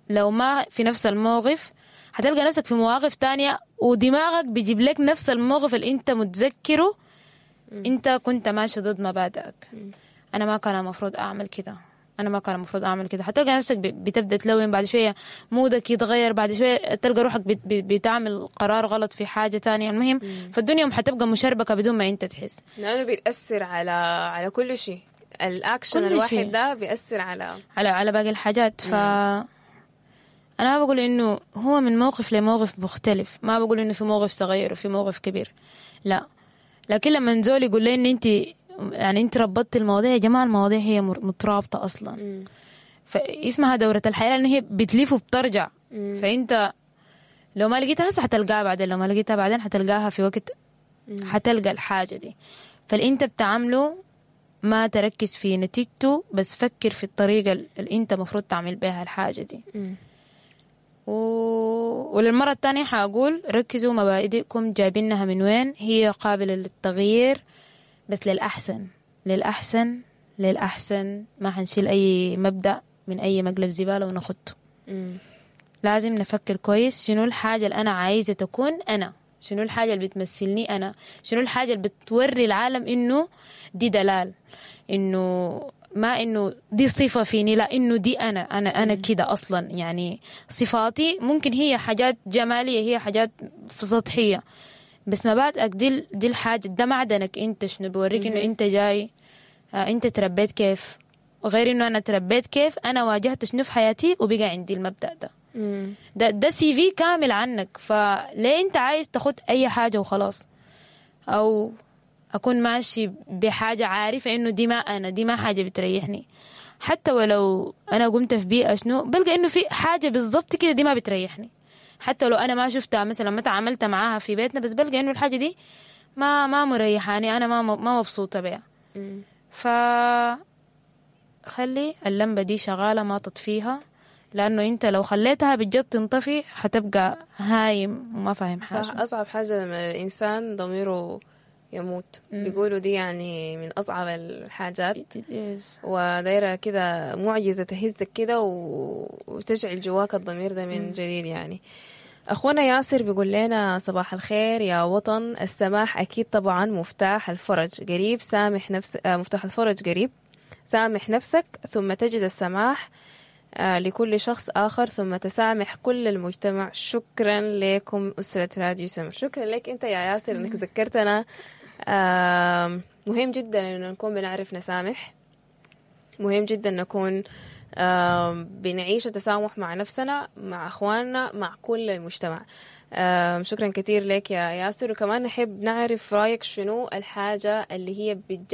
لو ما في نفس الموقف هتلقى نفسك في مواقف تانية، ودماغك بيجيب لك نفس الموقف اللي انت متذكرة انت كنت ماشي ضد مبادئك. انا ما كان المفروض اعمل كده، انا ما كان المفروض اعمل كده. هتلقى نفسك ب- بتبدا تلون بعد شوية، مودك يتغير بعد شوية، تلقى روحك بت- بت- بتعمل قرار غلط في حاجة تانية. المهم فالدنيا حتبقى مشربكه بدون ما انت تحس. لأنه بيتأثر على على كل شيء، الأكشن كل الواحد شيء. ده بيأثر على على على باقي الحاجات. ف انا ما بقول انه هو من موقف لموقف مختلف، ما بقول انه في موقف صغير وفي موقف كبير، لا. لكن لما زول يقول لي ان انت يعني انت ربطتي المواضيع، يا جماعة المواضيع هي مر- مترابطة اصلا. مم. فاسمها دورة الحياة لأن هي بتلف وبترجع. فأنت لو ما لقيتها هسه حتلقاها بعدين، لو ما لقيتها بعدين حتلقاها في وقت، حتلقى الحاجة دي. فاللي انت بتعمله ما تركز في نتيجته، بس فكر في الطريقة اللي انت مفروض تعمل بها الحاجة دي. مم. و... وللمرة الثانية حأقول ركزوا مبادئكم جايبينها من وين، هي قابلة للتغيير بس للأحسن، للأحسن، للأحسن. ما حنشيل أي مبدأ من أي مقلب زبالة ونخطه. مم. لازم نفكر كويس شنو الحاجة اللي أنا عايزة تكون أنا، شنو الحاجة اللي بتمثلني أنا، شنو الحاجة اللي بتوري العالم إنه دي دلال، إنه ما إنه دي صفة فيني، لا إنه دي أنا، أنا أنا كده أصلا. يعني صفاتي ممكن هي حاجات جمالية، هي حاجات في سطحية، بس مبادئك دي دي الحاجة، ده معدنك أنت، شنو بوريك إنه أنت جاي، آه، أنت تربيت كيف، غير إنه أنا تربيت كيف، أنا واجهت شنو في حياتي وبقى عندي المبدأ ده. مم. ده ده CV كامل عنك. فليه انت عايز تاخد اي حاجة وخلاص، او اكون ماشي بحاجة عارفه انه دي ما انا، دي ما حاجة بتريحني. حتى ولو انا قمت في بيئة شنو بلقى انه في حاجة بالضبط كده دي ما بتريحني، حتى لو انا ما شفتها مثلا، ما تعاملت معاها في بيتنا، بس بلقى انه الحاجة دي ما ما مريحاني، انا ما ما مبسوطة بيها. مم. ف خلي اللمبة دي شغالة ما تطفيها، لأنه أنت لو خليتها بجد تنطفي حتبقى هايم وما فاهم حاجة. صح. أصعب حاجة لما الإنسان ضميره يموت. بيقولوا دي يعني من أصعب الحاجات. It is. ودايرة كده معجزة تهزك كده و... وتشعل جواك الضمير ده من جديد يعني. أخونا ياسر بيقول لنا صباح الخير يا وطن. السماح أكيد طبعا مفتاح الفرج قريب، سامح نفس آه، مفتاح الفرج قريب، سامح نفسك ثم تجد السماح آه، لكل شخص آخر، ثم تسامح كل المجتمع. شكرا لكم أسرة راديو سمر. شكرا لك أنت يا ياسر أنك ذكرتنا. آم، مهم جدا أنه نكون بنعرف نسامح، مهم جدا نكون آم، بنعيش التسامح مع نفسنا، مع أخواننا، مع كل المجتمع. آم، شكرا كثير لك يا ياسر. وكمان نحب نعرف رأيك، شنو الحاجة اللي هي بجد